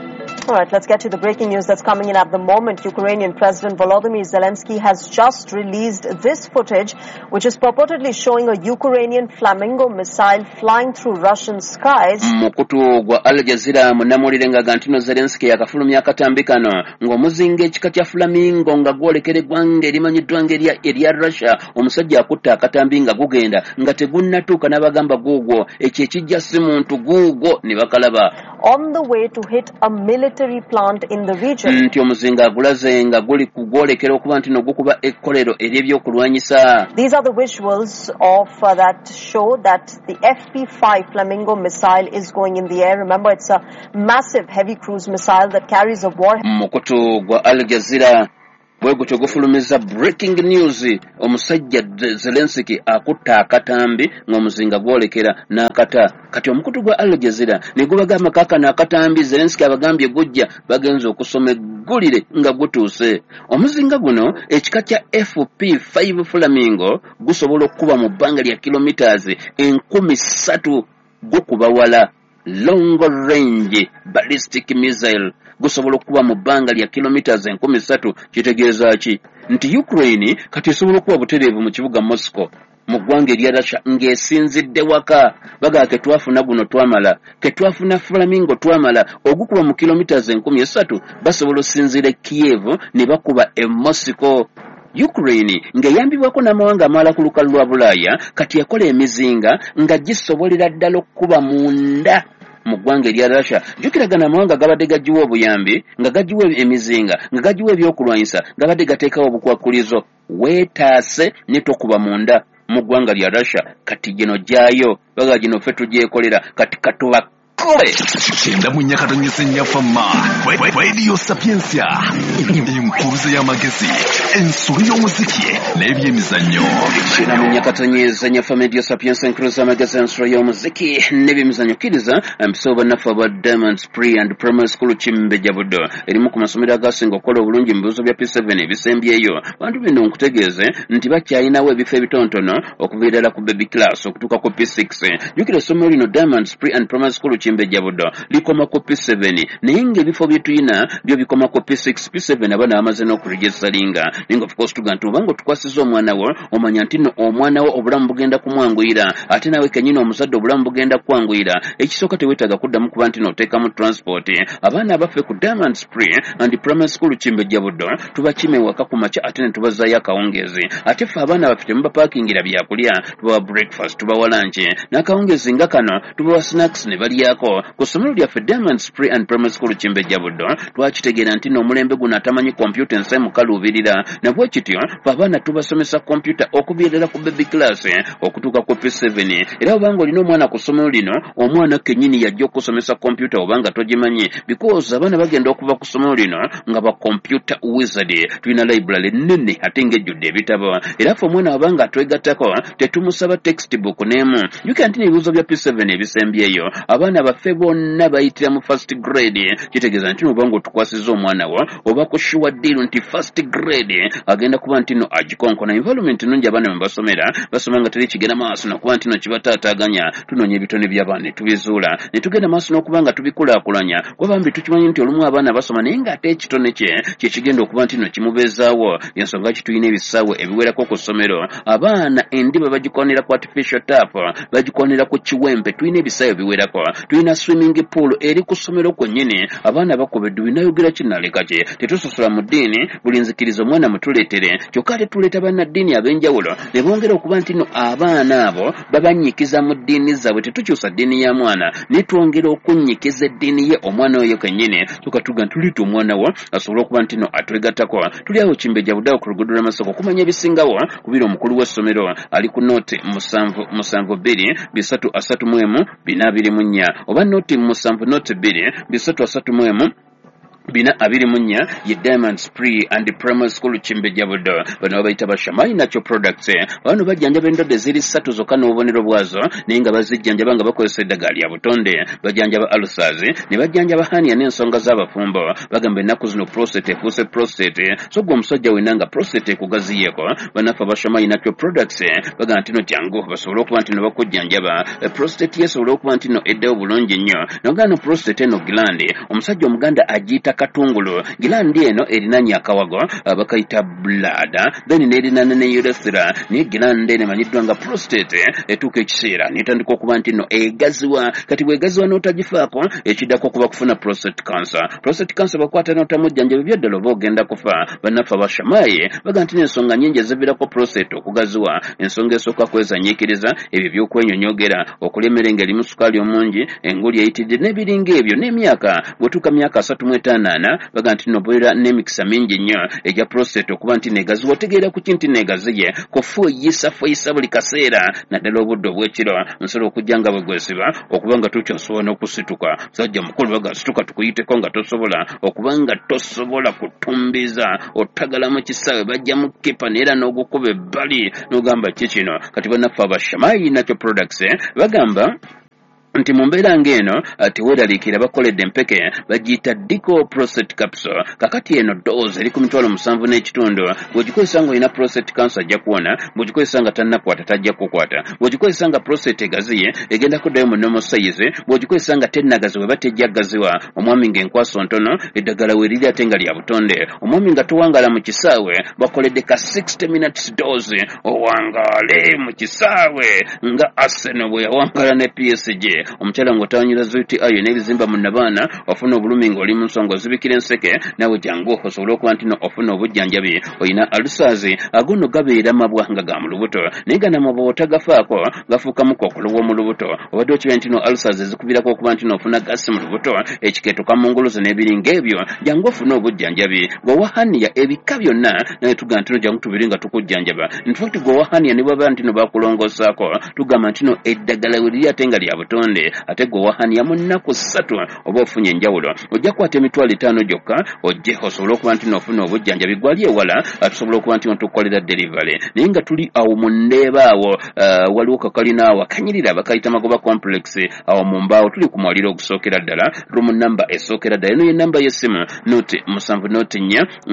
All right, let's get to the breaking news that's coming in at the moment. Ukrainian President Volodymyr Zelensky has just released this footage, which is purportedly showing a Ukrainian Flamingo missile flying through Russian skies. Mukutu gwa Al Jazeera, munnamawulire nga gantino Zelenski yakafulumya akatambi kano ng'omuzinga ekika kya Flamingo nga gwolekera eggwanga erimanyiddwa ng'erya erya Russia. Omusajja akutta akatambi nga gugenda nga tegunnatuuka, n'abagamba guugwo, ekyo ekijja si muntu, guugwo, ne bakalaba. On the way to hit a military plant in the region. Nti omuzinga agulaze nga guli kugwolekera okuba nti no gukuba ekkolero ery'ebyokulwanyisa. These are the visuals of that show that the FP-5 Flamingo missile is going in the air. Remember, it's a massive heavy cruise missile that carries a warhead. Mukutu gwa Al Jazeera bwe gutyo gufulumiza breaking news, omusajja Zelensky akutta akatambi ng'omuzinga gwolekera n'akata. Kati omukutu gwa Al Jazeera ne gubagamba kaakano akatambi Zelensky abagambye gujja, bagenza okusoma eggulire nga gutuuse. Omuzinga guno ekika kya FP5 Flamingo gusobola okukuba mu bbanga lya kilometers 3,000, gukuba wala, long range ballistic missile, gusobola okukuba mu bbanga lya kilometers 3,000. Kitegeeza ki? Nti Ukraine kati esobola okuba butereevu mu kibuga Moscow mu ggwanga erya Russia ng'esinzidde waka. Bagamba ketwafuna guno twamala, ketwafuna Flamingo twamala, ogukuba mu kilometers 3,000, basobola osinziira e Kiev ne bakuba e Moscow. Ukraine ng'eyambibwako n'amawanga amalala ku lukalu lwa Bulaaya kati yakola emizinga nga gisobolera ddala okukuba munda mu ggwanga erya Russia. Jjukiragana amawanga gabadde gagiwa obuyambi, nga gagiwa emizinga, nga gagiwa ebyokulwanyisa, gabadde gateekawo obukwakulizo weetaase ne tokuba munda mu ggwanga lya Russia. Kati gino gyayo baga gino ffe tugyekolera, kati katubakube. 94.4 Fama Radio Sapientia, enkuruze y'amagezi, ensolo y'omuziki n'ebyemizannyo. 94.4 Fama Radio Sapientia, enkuruze y'amagezi, ensolo y'omuziki n'ebyemizannyo. Kkiriza mpisewo bannaffe aba Diamonds Pre and Primary School Kimbejja Buddo, erimu ku masomero agasinga okukola obulungi mu bibuuzo bya P7 ebisembyeyo. Bantu bino nkutegeeze nti bakyalinawo ebifo ebitonotono okuva ddala ku baby class okutuuka ku P6. Jjukira essomero lino Diamonds Pre and Primary School Kimbejja Buddo likoma ku P7, naye ng'ebifo bye tulina byo bikoma ku P6. P7 abaana bamaze n'okuregistaringa, naye nga of course tuga nti obanga otukwasiza omwana wo, omanya nti nno omwana wo obulamu bugenda kumwanguyira, ate naawe kennyini omuzadde obulamu bugenda kukwanguyira. Ekisooka, teweetaaga kuddamu kuba nti n'oteekamu transport. Abaana abaffe ku Diamonds Pre and Primary School Kimbejja Buddo tubakima ewaka ku makya ate ne tubazaayo akawungeezi. Ate ffe abaana baffe temubapaakingira byakulya, tubawa breakfast, tubawa lunch, n'akawungeezi nga kano tubawa snacks ne balyako. Ku ssomero lyaffe Diamonds Pre and Primary School Kimbejja Buddo twakitegeera nti n'omulembe guno atamanyi kompyuta ensi emukaluubirira, nabwe kityo fe abaana tubasomesa kompyuta okuviira ku baby class okutuuka ku P7. Era obanga olina omwana ku ssomero lino, omwana kennyini yajja okusomesa kompyuta obanga togimanyi, because abaana bagenda okuva ku ssomero lino nga ba computer wizard. Tulina library nene ate ng'ejjudde ebitabo, era ffe omwana wabanga atwegattako tetumusaba textbook n'emu. Jjukira nti n'ebibuuzo bya P7 ebisembyeyo abaana baffe bonna bayitira mu first grade. Kitegeeza nti obanga otukwasiza omwana wo oba ku sure deal nti first grade agenda kuba nti no agikonkona. Environment nnungi, abaana mwe basomera basoma nga teri kigenda maaso nakuba nti no kibataataaganya. Tunoonya ebitone by'abaana ne tubizuula ne tugenda maaso n'okuba nga tubikulaakulanya, kuba bambi tukimanyi nti olumu abaana basoma naye ng'ate ekitone kye kye kigenda okuba nti no kimubeezaawo. Ensonga ki tulina ebisaawe ebiwerako ku ssomero, abaana endiba bagikonera ku artificial turf, bagikonera ku kiwempe. Tulina ebisaawe ebiwerako, tulina swimming pool eri ku ssomero kwennyini, abaana bakuba eddubi. Nayogera kinaleka ki, tetusosola mu ddiini, buli nzikiriza omwana mutuleetere, kyokka ate tuleeta bannaddiini ab'enjawulo ne bongera okuba nti no abaana abo babannyikiza mu ddiini zaabwe. Tetukyusa ddiini ya mwana, naye twongera okunnyikiza eddiini ye omwana oyo kennyini. Tukatuga nti tuleeta omwana wo asobole okuba nti no atwegattako. Tuli awo Kimbejja Buddawo ku luguudo lw'Amasoko. Okumanya ebisingawo kubira omukulu w'essomero ali ku 077 231 424 oba 070 231. 424 ye Diamonds Pre and Primary School Kimbejja Buddo. Bano babayita ba Shamai Natural Products. Bano bajjanjaba endwadde ziri ssatu zokka n'obubonero bwazo, naye nga bazijjanjaba nga bakozesa eddagala lya butonde. Bajjanjaba ulcers, ne bajjanjaba hernia n'ensonga z'abafumbo. Bagamba ennaku zino prostate efuuse prostate, so gwe omusajja wenna nga prostate ekugaziyeeko, bannaffe aba Shamai Natural Products bagamba nti no jangu basobole okuba nti no bakujjanjaba prostate yesobole okuba nti no eddayo bulungi nnyo. Nogamba no prostate eno gland, omusajja Omuganda agiyita katungulu. Gland eno erinanye akawago bakayita bladder, then n'erinana ne urethra, naye gland eno emanyiddwa nga prostate etuuka ekiseera n'etandika okuba nti no egaziwa. Kati bw'egaziwa n'otagifaako, ekiddako okuba kufuna prostate cancer. Prostate cancer bakwata n'otamujjanjaba, ebyaddala oba ogenda kufa. Bannaffe aba Shamai bagamba nti n'ensonga nnyingi eziviirako prostate okugaziwa. Ensonga esooka kwezanyiikiriza, ebyo by'okwenyonyogera, okulya emmere ng'erimu sukaali omungi, enguli eyitiridde n'ebiringa ebyo, n'emyaka. Bw'otuuka myaka 34 bagamba nti nobeera n'emikisa mingi nnyo egya prostate okuba nti negaziwa. Otegeera ku ki nti negaziye? Kufuuyisa buli kaseera, naddala obudde obw'ekiro. Nsobola okujja nga bwe gwesiba okuba nga tokyasobola n'okusituka. Musajja mukulu baga situka tukuyiteko nga tosobola, okuba nga tosobola kutumbiza, otagala mu kisaawe bajjamu kipa neera n'ogukuba ebbali n'ogamba ki kino. Kati bannaffe aba Shamai Natural Products bagamba nti mu mbeera ng'eno teweeraliikira, bakoledde empeke bagiyita Dico Prostate Capsule. Kakati eno dose eri ku 75,000. Bw'ogikozesa ng'olina prostate cancer ajja kuwona, bw'ogikozesa nga tannakwata tajja kukwata, bw'ogikozesa nga prostate egaziye egenda kuddayo mu normal size, bw'ogikozesa nga tennagaziwa eba tejja gaziwa. Omwami ng'enkwaso ntono, eddagala weeriri ate nga lya butonde. Omwami nga towangala mu kisaawe, bakoledde ka 60 minutes dose, owangaale mu kisaawe nga Arsenal bwe yawangala ne PSG. Omukyala ng'otawanyira UTI n'ebizimba mu nnabaana, ofuna obulumi ng'oli mu nsonga ozibikira enseke, naawe jangu osobole okuba nti no ofuna obujjanjabi. Olina ulcers, ago nno gabeera mabwa nga ga mu lubuto, naye gano amabwa otagafaako gafuukamu kookolo w'omu lubuto. Obadde okimanyi nti no ulcers ezikuviirako okuba nti no ofuna gasi mu lubuto, ekikeeto, kamunguluzo n'ebiringa ebyo. Jangu ofune obujjanjabi. Gwe owa hernia ebika byonna, naye tugamba nti no jangu tubiri nga tukujjanjaba. In fact gwe owa hernia ne bw'aba nti no bakulongoosaako, tugamba nti no eddagala we liri ate nga lya butonde. Ate gwe owa hernia mu nnaku 3 oba ofunye enjawulo. Ojja kukwata 50,000 gyokka ojje osobole okuba nti n'ofuna obujjanjabi. Gwali ewala tusobola okuba nti tukukolera delivery, naye nga tuli awo mu Ndeeba awo waliwo kakalina awo akanyirira bakayita Magoba Complex, awo mu mbaawo tuli ku mwaliro ogusookera ddala, room number esookera ddala. Eno ye namba y'essimu 0 7 0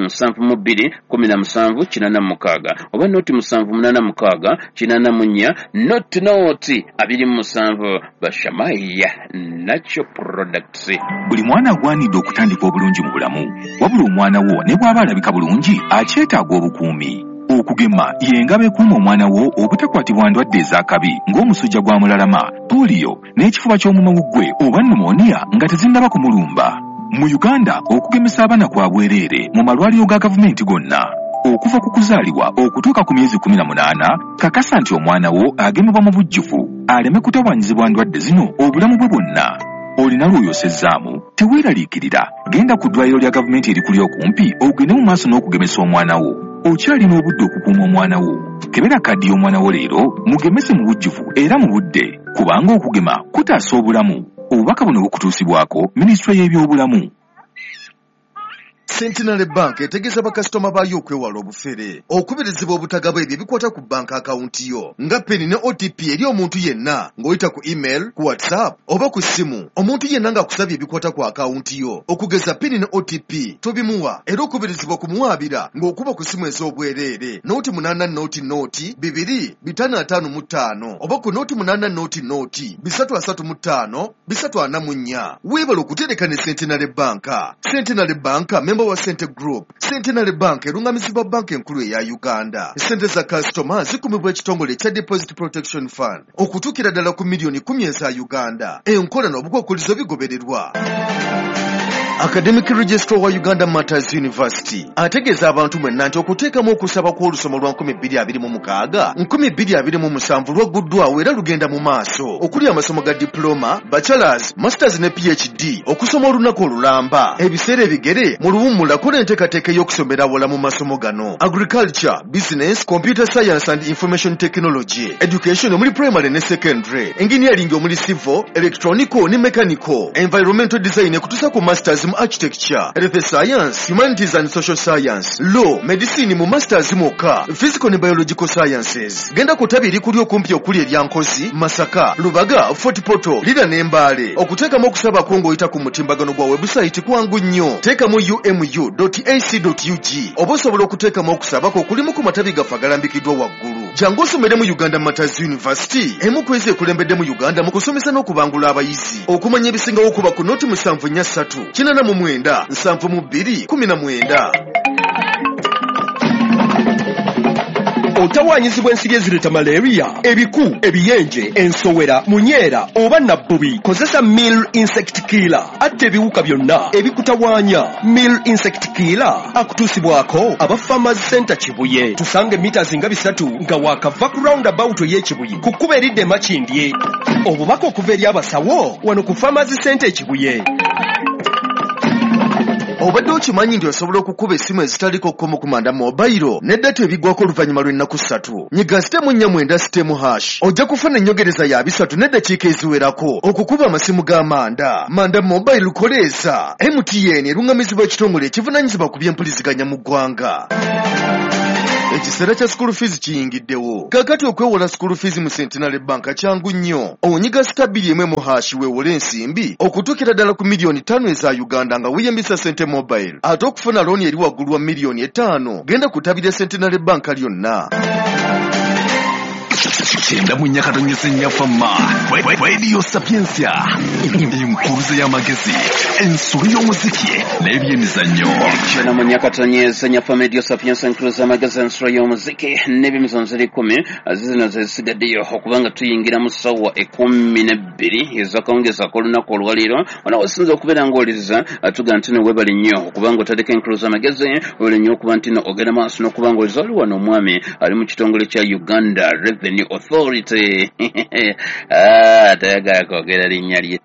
4 72 17 86 oba 0 7 86 84 00 27. Bashamaya Natural Products. Buli mwana agwanidde okutandika obulungi mu bulamu, wabula omwana wo ne bw'aba alabika bulungi akyetaaga obukuumi. Okugema y'engabo ekuuma omwana wo obutakwatibwa ndwadde ez'akabi ng'omusujja gwa mulalama, pooliyo n'ekifuba ky'omumawuggwe oba pneumonia nga tezinnaba kumulumba. Mu Uganda okugemesa abaana kwa bwereere mu malwaliro ga gavumenti gonna okuva ku kuzaalibwa okutuuka ku myezi 18. Kakasa nti omwana wo agemebwa mu bujjuvu aleme kutawaanyizibwa ndwadde zino obulamu bwe bwonna. Olina lw'oyosezzaamu? Teweeraliikirira, genda ku ddwaliro lya gavumenti erikuli okumpi ogende mu maaso n'okugemesa omwana wo. Okyalina obudde okukuuma omwana wo. Kebera kaddi y'omwana wo leero, mugemese mu bujjuvu era mu budde, kubanga okugema kutaasa obulamu. Obubaka buno bukutuusibwako minisitule y'ebyobulamu. Centenary Bank etegeeza bakasitoma baayo okwewala obufere. Okubirizibwa obutagaba ebyo ebikwata ku banka akawunti yo nga PIN ne OTP eri omuntu yenna ng'oyita ku email, ku WhatsApp oba ku ssimu. Omuntu yenna ng'akusabye ebikwata ku akawunti yo okugeza PIN ne OTP tobimuwa, era okubirizibwa kumuwaabira ng'okuba ku ssimu ez'obwereere 080 0 2 555 oba ku 080 0 335 344. Weebale okutereka ne Centenary Bank. Centenary Bank memba wa Sente Group. Centenary Bank erungamizibwa Banka Enkulu eya Uganda. Sente za kasitoma zikumibwa ekitongole ekya Deposit Protection Fund okutuukira ddala ku miliyoni 10 eza Uganda. Enkola n'obukwakkulizo bigobererwa. Academic Registrar wa Uganda Martyrs University ategeeza abantu mwenna nti okuteekamu okusaba kw'olusoma lwa 2026 2027 lwagguddwawo era lugenda mu maaso, okuli amasomo ga diploma, bachelors, masters ne PhD, okusoma olunaku olulamba, ebiseera ebigere mu luwummula. Kola enteekateeka ey'okusomera awala mu masomo gano: agriculture, business, computer science and information technology, education omuli primary ne secondary, engineering omuli civil, electronical ne mechanical, environmental design ekutuusa ku masters. mu architecture, health science, humanities and social science, law, medicine mu masters mwokka, physical ne biological sciences. Genda ku ttabi erikuli okumpi okuli erya Nkozi, Masaka, Lubaga, Fort Portal, Lira ne Mbale. Okuteekamu okusaba kwo ng'oyita ku mutimbagano gwa website kwangu nnyo. Teekamu umu.ac.ug oba osobola okuteekamu okusaba kwo okulimu ku matabi gaffe agalambikiddwa waggulu. Jangu osomere mu Uganda Martyrs University, emu ku ezo ekulembedde mu Uganda mu kusomesa n'okubangula abayizi. Okumanya ebisingawo kuba ku noti 743 89 72 19. Otawaanyizibwa ensiri ezireeta malaria, ebiku, ebiyenje, ensowera, munyeera oba nabbubi. Kozesa Mill Insect Killer atta ebiwuka byonna ebikutawaanya. Mill Insect Killer akutuusibwako aba Farmers Center Kibuye. Tusange mita nga 3 nga waakava ku roundabout ey'Ekibuye ku kkubo eridda e Makindye. Obubaka okuva eri abasawo wano ku Farmers Center e Kibuye. Obadde okimanyi nti osobola okukuba essimu ezitaliko kkomo ku Manda Mobile ne data ebiggwako oluvannyuma lw'ennaku 3. Nyiga *490*# ojja kufuna ennyogereza ya 3 n'eddakiika eziwerako okukuba amasimu ga Manda. Manda Mobile koleeza. MTN eruŋŋamizibwa ekitongole ekivunaanyizibwa ku by'empuliziganya mu ggwanga. Ekiseera kya school fees kiyingiddewo. Kaakati okwewola school fees mu Centenary Bank kyangu nnyo. Onyiga *1 weewole ensimbi okutuukira ddala ku miliyoni 5 eza Uganda nga weeyambisa Sente Mobile. Ate okufuna looni eri waggulu wa miliyoni 5 genda ku ttabi lya Centenary Bank lyonna. 94.4 Fama Radio Sapientia, enkuruze y'amagezi, ensolo y'omuziki n'ebyemizannyo. 94.4 Fama Radio Sapientia, enkuruze y'amagezi, ensolo y'omuziki n'ebyemizannyo ziri 10 zino zisigaddeyo okubanga tuyingira mu ssaawa 12 ez'akawungeezi ak'olunaku olwaleero. Wano osinza okubeera ng'owuliriza tugamba nti no weebale nnyo okubanga otandika enkuruze y'amagezi, weebale nnyo okuba nti no ogenda maaso n'okuba ng'owuliriza. Waliwo wano omwami ali mu kitongole kya Uganda Revenue Authority. Tayagala kwogera linnya lye.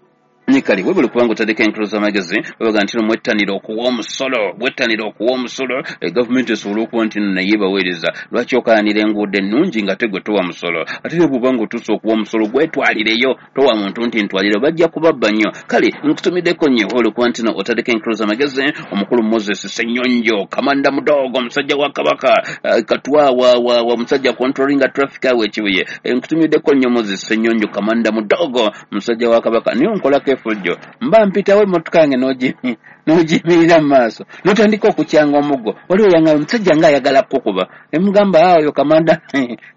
Kale webale kubanga otandika enkuruza amagezi, babaga nti no mwettanira okuwa omusolo, mwettanira okuwa omusolo, gavumenti esobole okuba nti no naye ebaweereza. Lwaki okayanira enguudo ennungi nga te gwe towa musolo? Ate ne bw'oba ng'otuuse okuwa omusolo gwetwalireyo, towa muntu nti ntwalire, bajja kubabba nnyo. Kale nkutumiddeko nnyo webale kuba nti no otandika enkuruza amagezi. Omukulu Moses Ssenyonjo, Kamanda Mudogo, omusajja wa Kabaka, Katwa wa musajja controlling traffic awo e Kibuye. Nkutumiddeko nnyo Moses Ssenyonjo, Kamanda Mudogo, musajja wa Kabaka. Niyo nkolako efujjo mba mpitawo emmotoka yange n'ogiyimirira mu maaso n'otandika okukyanga omuggo. Waliwo yangamba omusajja ng'ayagala kukuba, ne mugamba oyo kamanda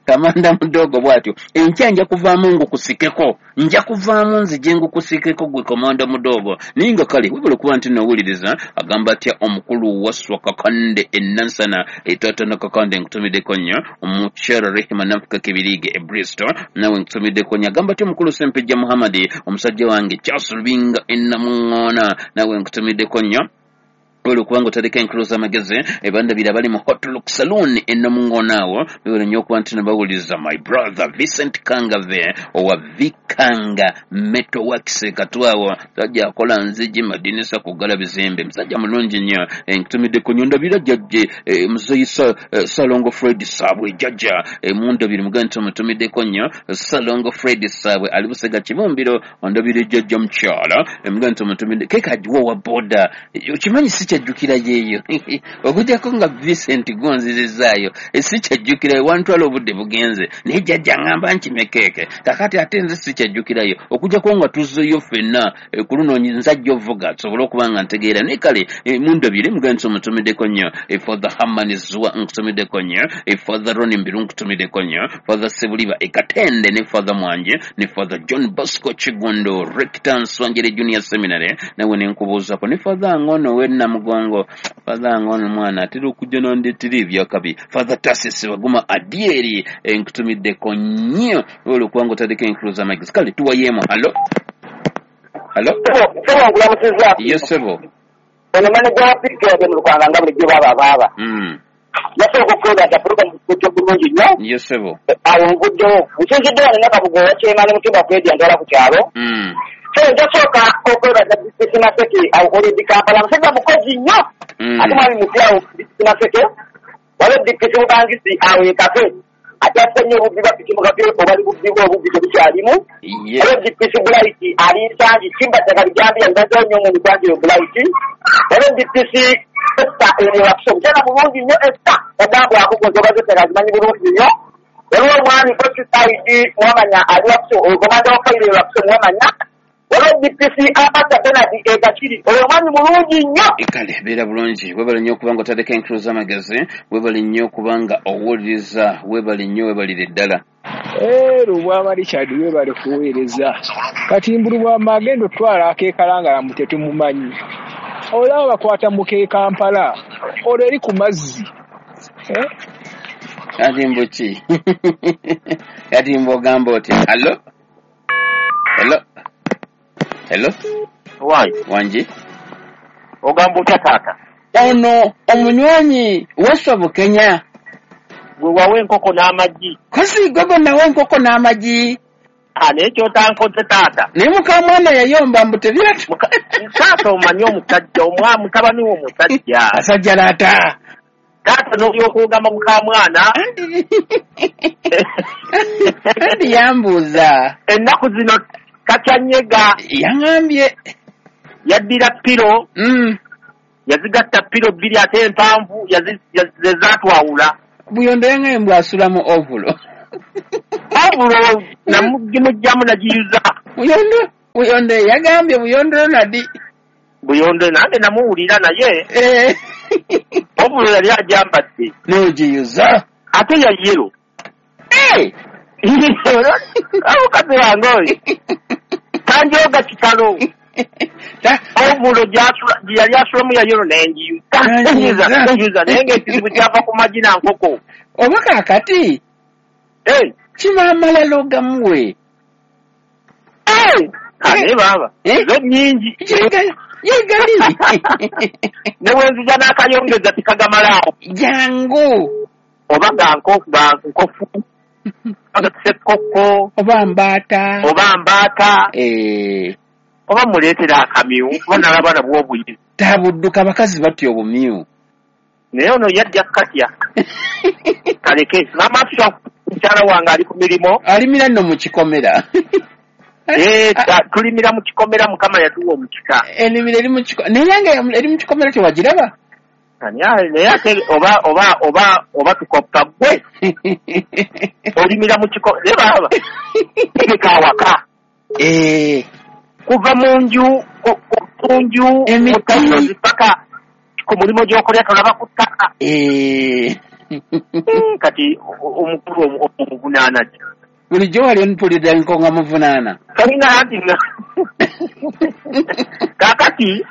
Kamanda Mudogo bw'atyo, enkya nja kuvaamu ngukusikeko, nja kuvaamu nzije ngukusikeko gwe Kamanda Mudogo. Naye nga kale webale kuba nti nowuliriza. Agamba atya omukulu Waswa Kakande e Nansana, taata na Kakande nkutumiddeko nnyo. Omukyala Rehema Nanfuka Kibirige e Bristol nawe nkutumiddeko nnyo. Agamba atya omukulu Ssempejja Muhammad, omusajja wange Charles Lubinga e Namuŋŋoona nawe nkutumiddeko nnyo. Webale kubanga otandika enkuruza amagezi. Ebandabira bali mu Hot Look Saloon e Namuŋŋoona awo, webale nnyo okuba nti nabawuliriza. My brother Vincent Kangave owa Vikanga Metal Works Katwawo, musajja akola nzigi, madinisa, kuggala bizimbe, musajja mulungi nnyo. Nkutumiddeko nnyo. Ndabira jjajje muzeeyi Ssalongo Fred Saabwe, jjajja mundabire mugambe nti omutumiddeko nnyo. Ssalongo Fred Saabwe ali Busega Kibumbiro, ondabire jjajja mukyala mugambe nti omutumidde. Keeka agiwa owa boda, okimanyi si kyajjukira yeeyo okujjako nga Vincent gonzizizaayo, si kyajjukirayo, wantwala obudde bugenze, naye jjajja ŋŋamba nkime keeke kakati ate nze si kyajjukirayo okujjako nga tuzzeeyo ffenna ku luno nzajja ovuga tusobole okuba nga ntegeera. Naye kale mundabire mugambe nti omutumiddeko nnyo. Father Hamani Zua nkutumiddeko nnyo. Father Ronnie Mbiru nkutumiddeko nnyo. Father Sebuliba e Katende ne Father Mwanje ne Father John Bosco Kigundo, Rector Nswanjere Junior Seminary nawe ne nkubuuzaako, ne Father Ngono we Namugongo, Father Ngono mwana atera okujja n'andeetera ebyakabi. Father Tarsis Baguma Adieri nkutumiddeko nnyo. Webale kubanga otandika enkuruza amagezi. Kale tuwayeemu. Hallo, hallo. Ssebo nkulamusizza. Yes ssebo. Ono maneja wa PK mu Lukanga nga bulijjo baaba. Nasooka okwebaza pulogulaamu kujja bulungi nnyo. Yes ssebo. Awo nvuddewo. Nsinzidde wano Nakabugo owa Kyemani Mutimba Fred antwala ku kyalo. So njasooka okwebaza Disitulikiti Maseke awo Kampala, musajja mukozi nnyo. Ate mwami mupya awo Disitulikiti Maseke, waliwo Disitulikiti Bubangisi awo e Katwe. Akyasa nnyo obubbi bwa piki mukati obali bubbi obubbi tebukyalimu. Waliwo DPC Blight ali Nsangi, Kimbattaka Bijambiya mbazeewo nnyo mu Nsangi Blight. Waliwo DPC Esther eno Wakiso, omukyala mulungi nnyo Esther, bagamba akukoze oba z'ettaka azimanyi bulungi nnyo. Waliwo omwami Kokisaidi Mwamanya ali Wakiso, komanda wa fayiro e Wakiso Mwamanya. Waliwo DPC Amata Bernard e Kakiri, oyo omwami mulungi nnyo. Kale beera bulungi, weebale nnyo okuba nga otandika enkulu z'amagezi, weebale nnyo okuba nga owuliriza, weebale nnyo, weebalire ddala. Lubwama Richard weebale kuweereza. Kati mbu Lubwama agenda otwala akeekalangala mbu tetumumanyi. Olaba bakwata mu k'e Kampala, olwo eri ku mazzi. Kati mbu ki? Kati mbu ogamba otya? Hello? Hello? Hello? Why? Wangi? Ogamba otya taata? Ono omunywanyi Wasswa Bukenya. Gwe wawa enkoko n'amagi. Kosi gwe gwe nawa enkoko n'amagi. Naye ky'otankoze taata. Naye mukamwana yayomba mbu tebyatu. Taata omanyi omusajja, mutabani wo omusajja. Asajja laata. Taata n'olyoka ogamba mukamwana. Anti yambuuza. Ennaku zino kakyanyega. Yaŋŋambye. Yaddira piro. Yazigatta piro bbiri ate empanvu ze zaatwawula. Buyondo yaŋŋambye mbu asula mu ovulo. Ovulo namugimugyamu nagiyuza. Buyondo yagambye Buyondo Ronald. Buyondo nange namuwulira naye. Ovulo yali agyambadde. N'ogiyuza. Ate ya yero. Omukazi wange oyo. Tanjooga kitalo. Ovulo gye yali asulamu ya yero n'engiyuza. Nenjiyuza naye ng'ekizibu kyava ku magi na nkoko. Oba kaakati kiba amalalo gamuwe. Naye baaba zo nnyingi. Yegali. Ne bwe nzija n'akayongeza tikagamalaawo. Jangu. Oba ga nkofu. Oba ssekkokko. Oba mbaata. Oba muleetera akamyu kuba nalaba nabwo obuyizi. Tabudduka abakazi batya obumyu. Naye ono yajja katya. Kaleke maama Afsa mukyala wange ali ku mirimu. Alimira nno mu kikomera. Tulimira mu kikomera, Mukama yatuwa omukisa. Ennimiro eri mu kikomera. Naye yange eri mu kikomera tewagiraba? Naye ate oba tukoppa ggwe. Olimira mu kikomera. Naye baaba tegeka awaka. Kuva mu nju mu tayirozi paka ku mulimu gy'okolera tolaba ku ttaka. Kati omukulu omuvunaana ki? Bulijjo wali mpulidde nkonga muvunaana. Kalina anti kaakati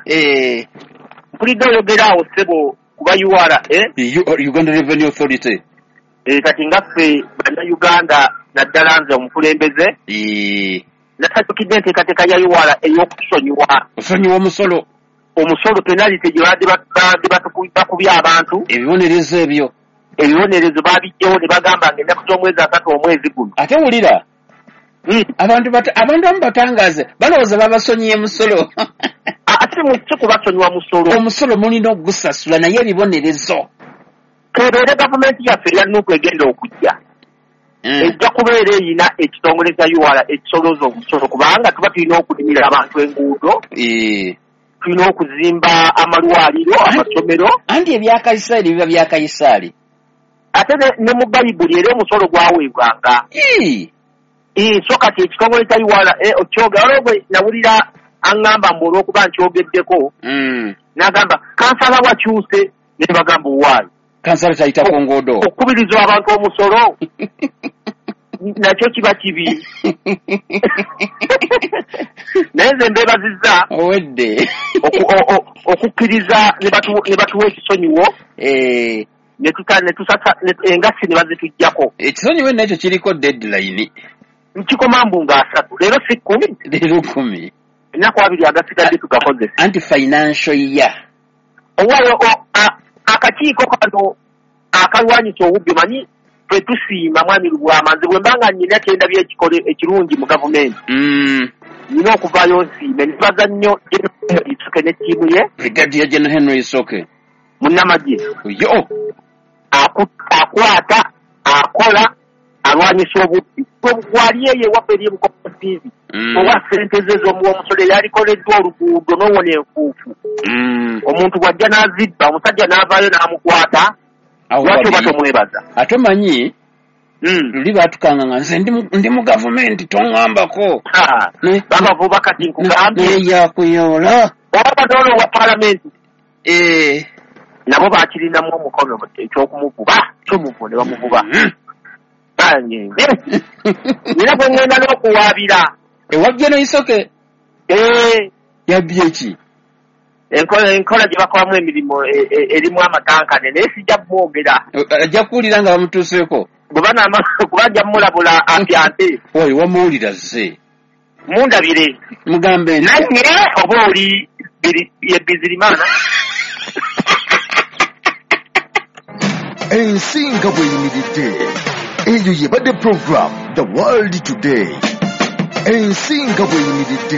mpulidde oyogera awo ssebo kuba URA. Uganda Revenue Authority. Kati nga ffe bannayuganda naddala nze omukulembeze. Nasanyukidde enteekateeka ya URA ey'okusonyiwa. Osonyiwa omusolo. Omusolo penalty gye babadde bakubye abantu. Ebibonerezo ebyo. Ebibonerezo babiggyewo ne bagamba nga ennaku z'omwezi 3 omwezi guno. Ate wulira. Abantu abamu batangaaze balowooza babasonyiye musolo. Ate si kubasonyiwa musolo. Omusolo mulina okugusasula naye ebibonerezo. Kebeere gavumenti yaffe eya NUP egenda okujja. Ejja kubeera eyina ekitongole kya URA ekisolooza omusolo kubanga tuba tulina okulimira abantu enguudo. Tulina okuzimba amalwaliro, amasomero. Anti ebya Kayisaali biba bya Kayisaali. Ate ne mu Bayibuli era omusolo gwaweebwanga. So kati ekitongole kya URA okyogera olwo gwe nawulira aŋŋamba mbu olw'okuba nkyogeddeko. N'agamba kansala wakyuse ne bagamba owaayi. Kansala tayita ku nguudo. Okukubiriza abantu omusolo nakyo kiba kibi. Naye nze mbeebazizza owedde okukkiriza ne batuwa ekisonyiwo. Engassi ne bazituggyako. Ekisonyiwo nakyo kiriko deadline. Nkikoma mbu nga 3 leero si 10. Leero 10. Ennaku 2 agasigadde tugakozese. Anti financial year. Owaayo akakiiko kano akalwanyisa obubbi manyi ffe tusiima mwami Lubwama. Nze bwe mba nga nnina kye ndabye ekikole ekirungi mu gavumenti. Nnina okuvaayo nsiime. Nebaza nnyo General Isoke ne ttiimu ye. Brigadier General Henry Isoke. Munnamagye. Yo. Akwata, akola, Alwanyisa obubbi. Gwali eyo ewaffe eri ebukotiivi. Owa ssente ze ez'omuwa omusolo eyalikoleddwa oluguudo n'owona enfuufu. Omuntu bw'ajja n'azibba, omusajja n'avaayo n'amukwata, lwaki oba tomwebaza? Ate omanyi, luli baatukanga nga nze ndi mu gavumenti toŋŋambako. Babavuba kati nkugambye. Naye yakuyoola. Oba n'olwo wa paalamenti. Nabo bakirinamu omukono eky'okumuvuba, kyomuvuba ne bamuvuba. Nina bwe ŋŋenda n'okuwaabira. Ewabye n'oisoke? Yabbye ki? Enkola gye bakolamu emirimu erimu amatankane naye sijja kumwogera. Ajja kuwulira nga bamutuuseeko. Kuba ajja mmulabula apyante. Oyo wamuwulira zze. Mundabire. Mugambe nti. Naye oba oli ye Bizirimana. Ensi nga bw'eyimiridde. Eyo yebadde program The World Today. Ensi nga bw'eyimiridde.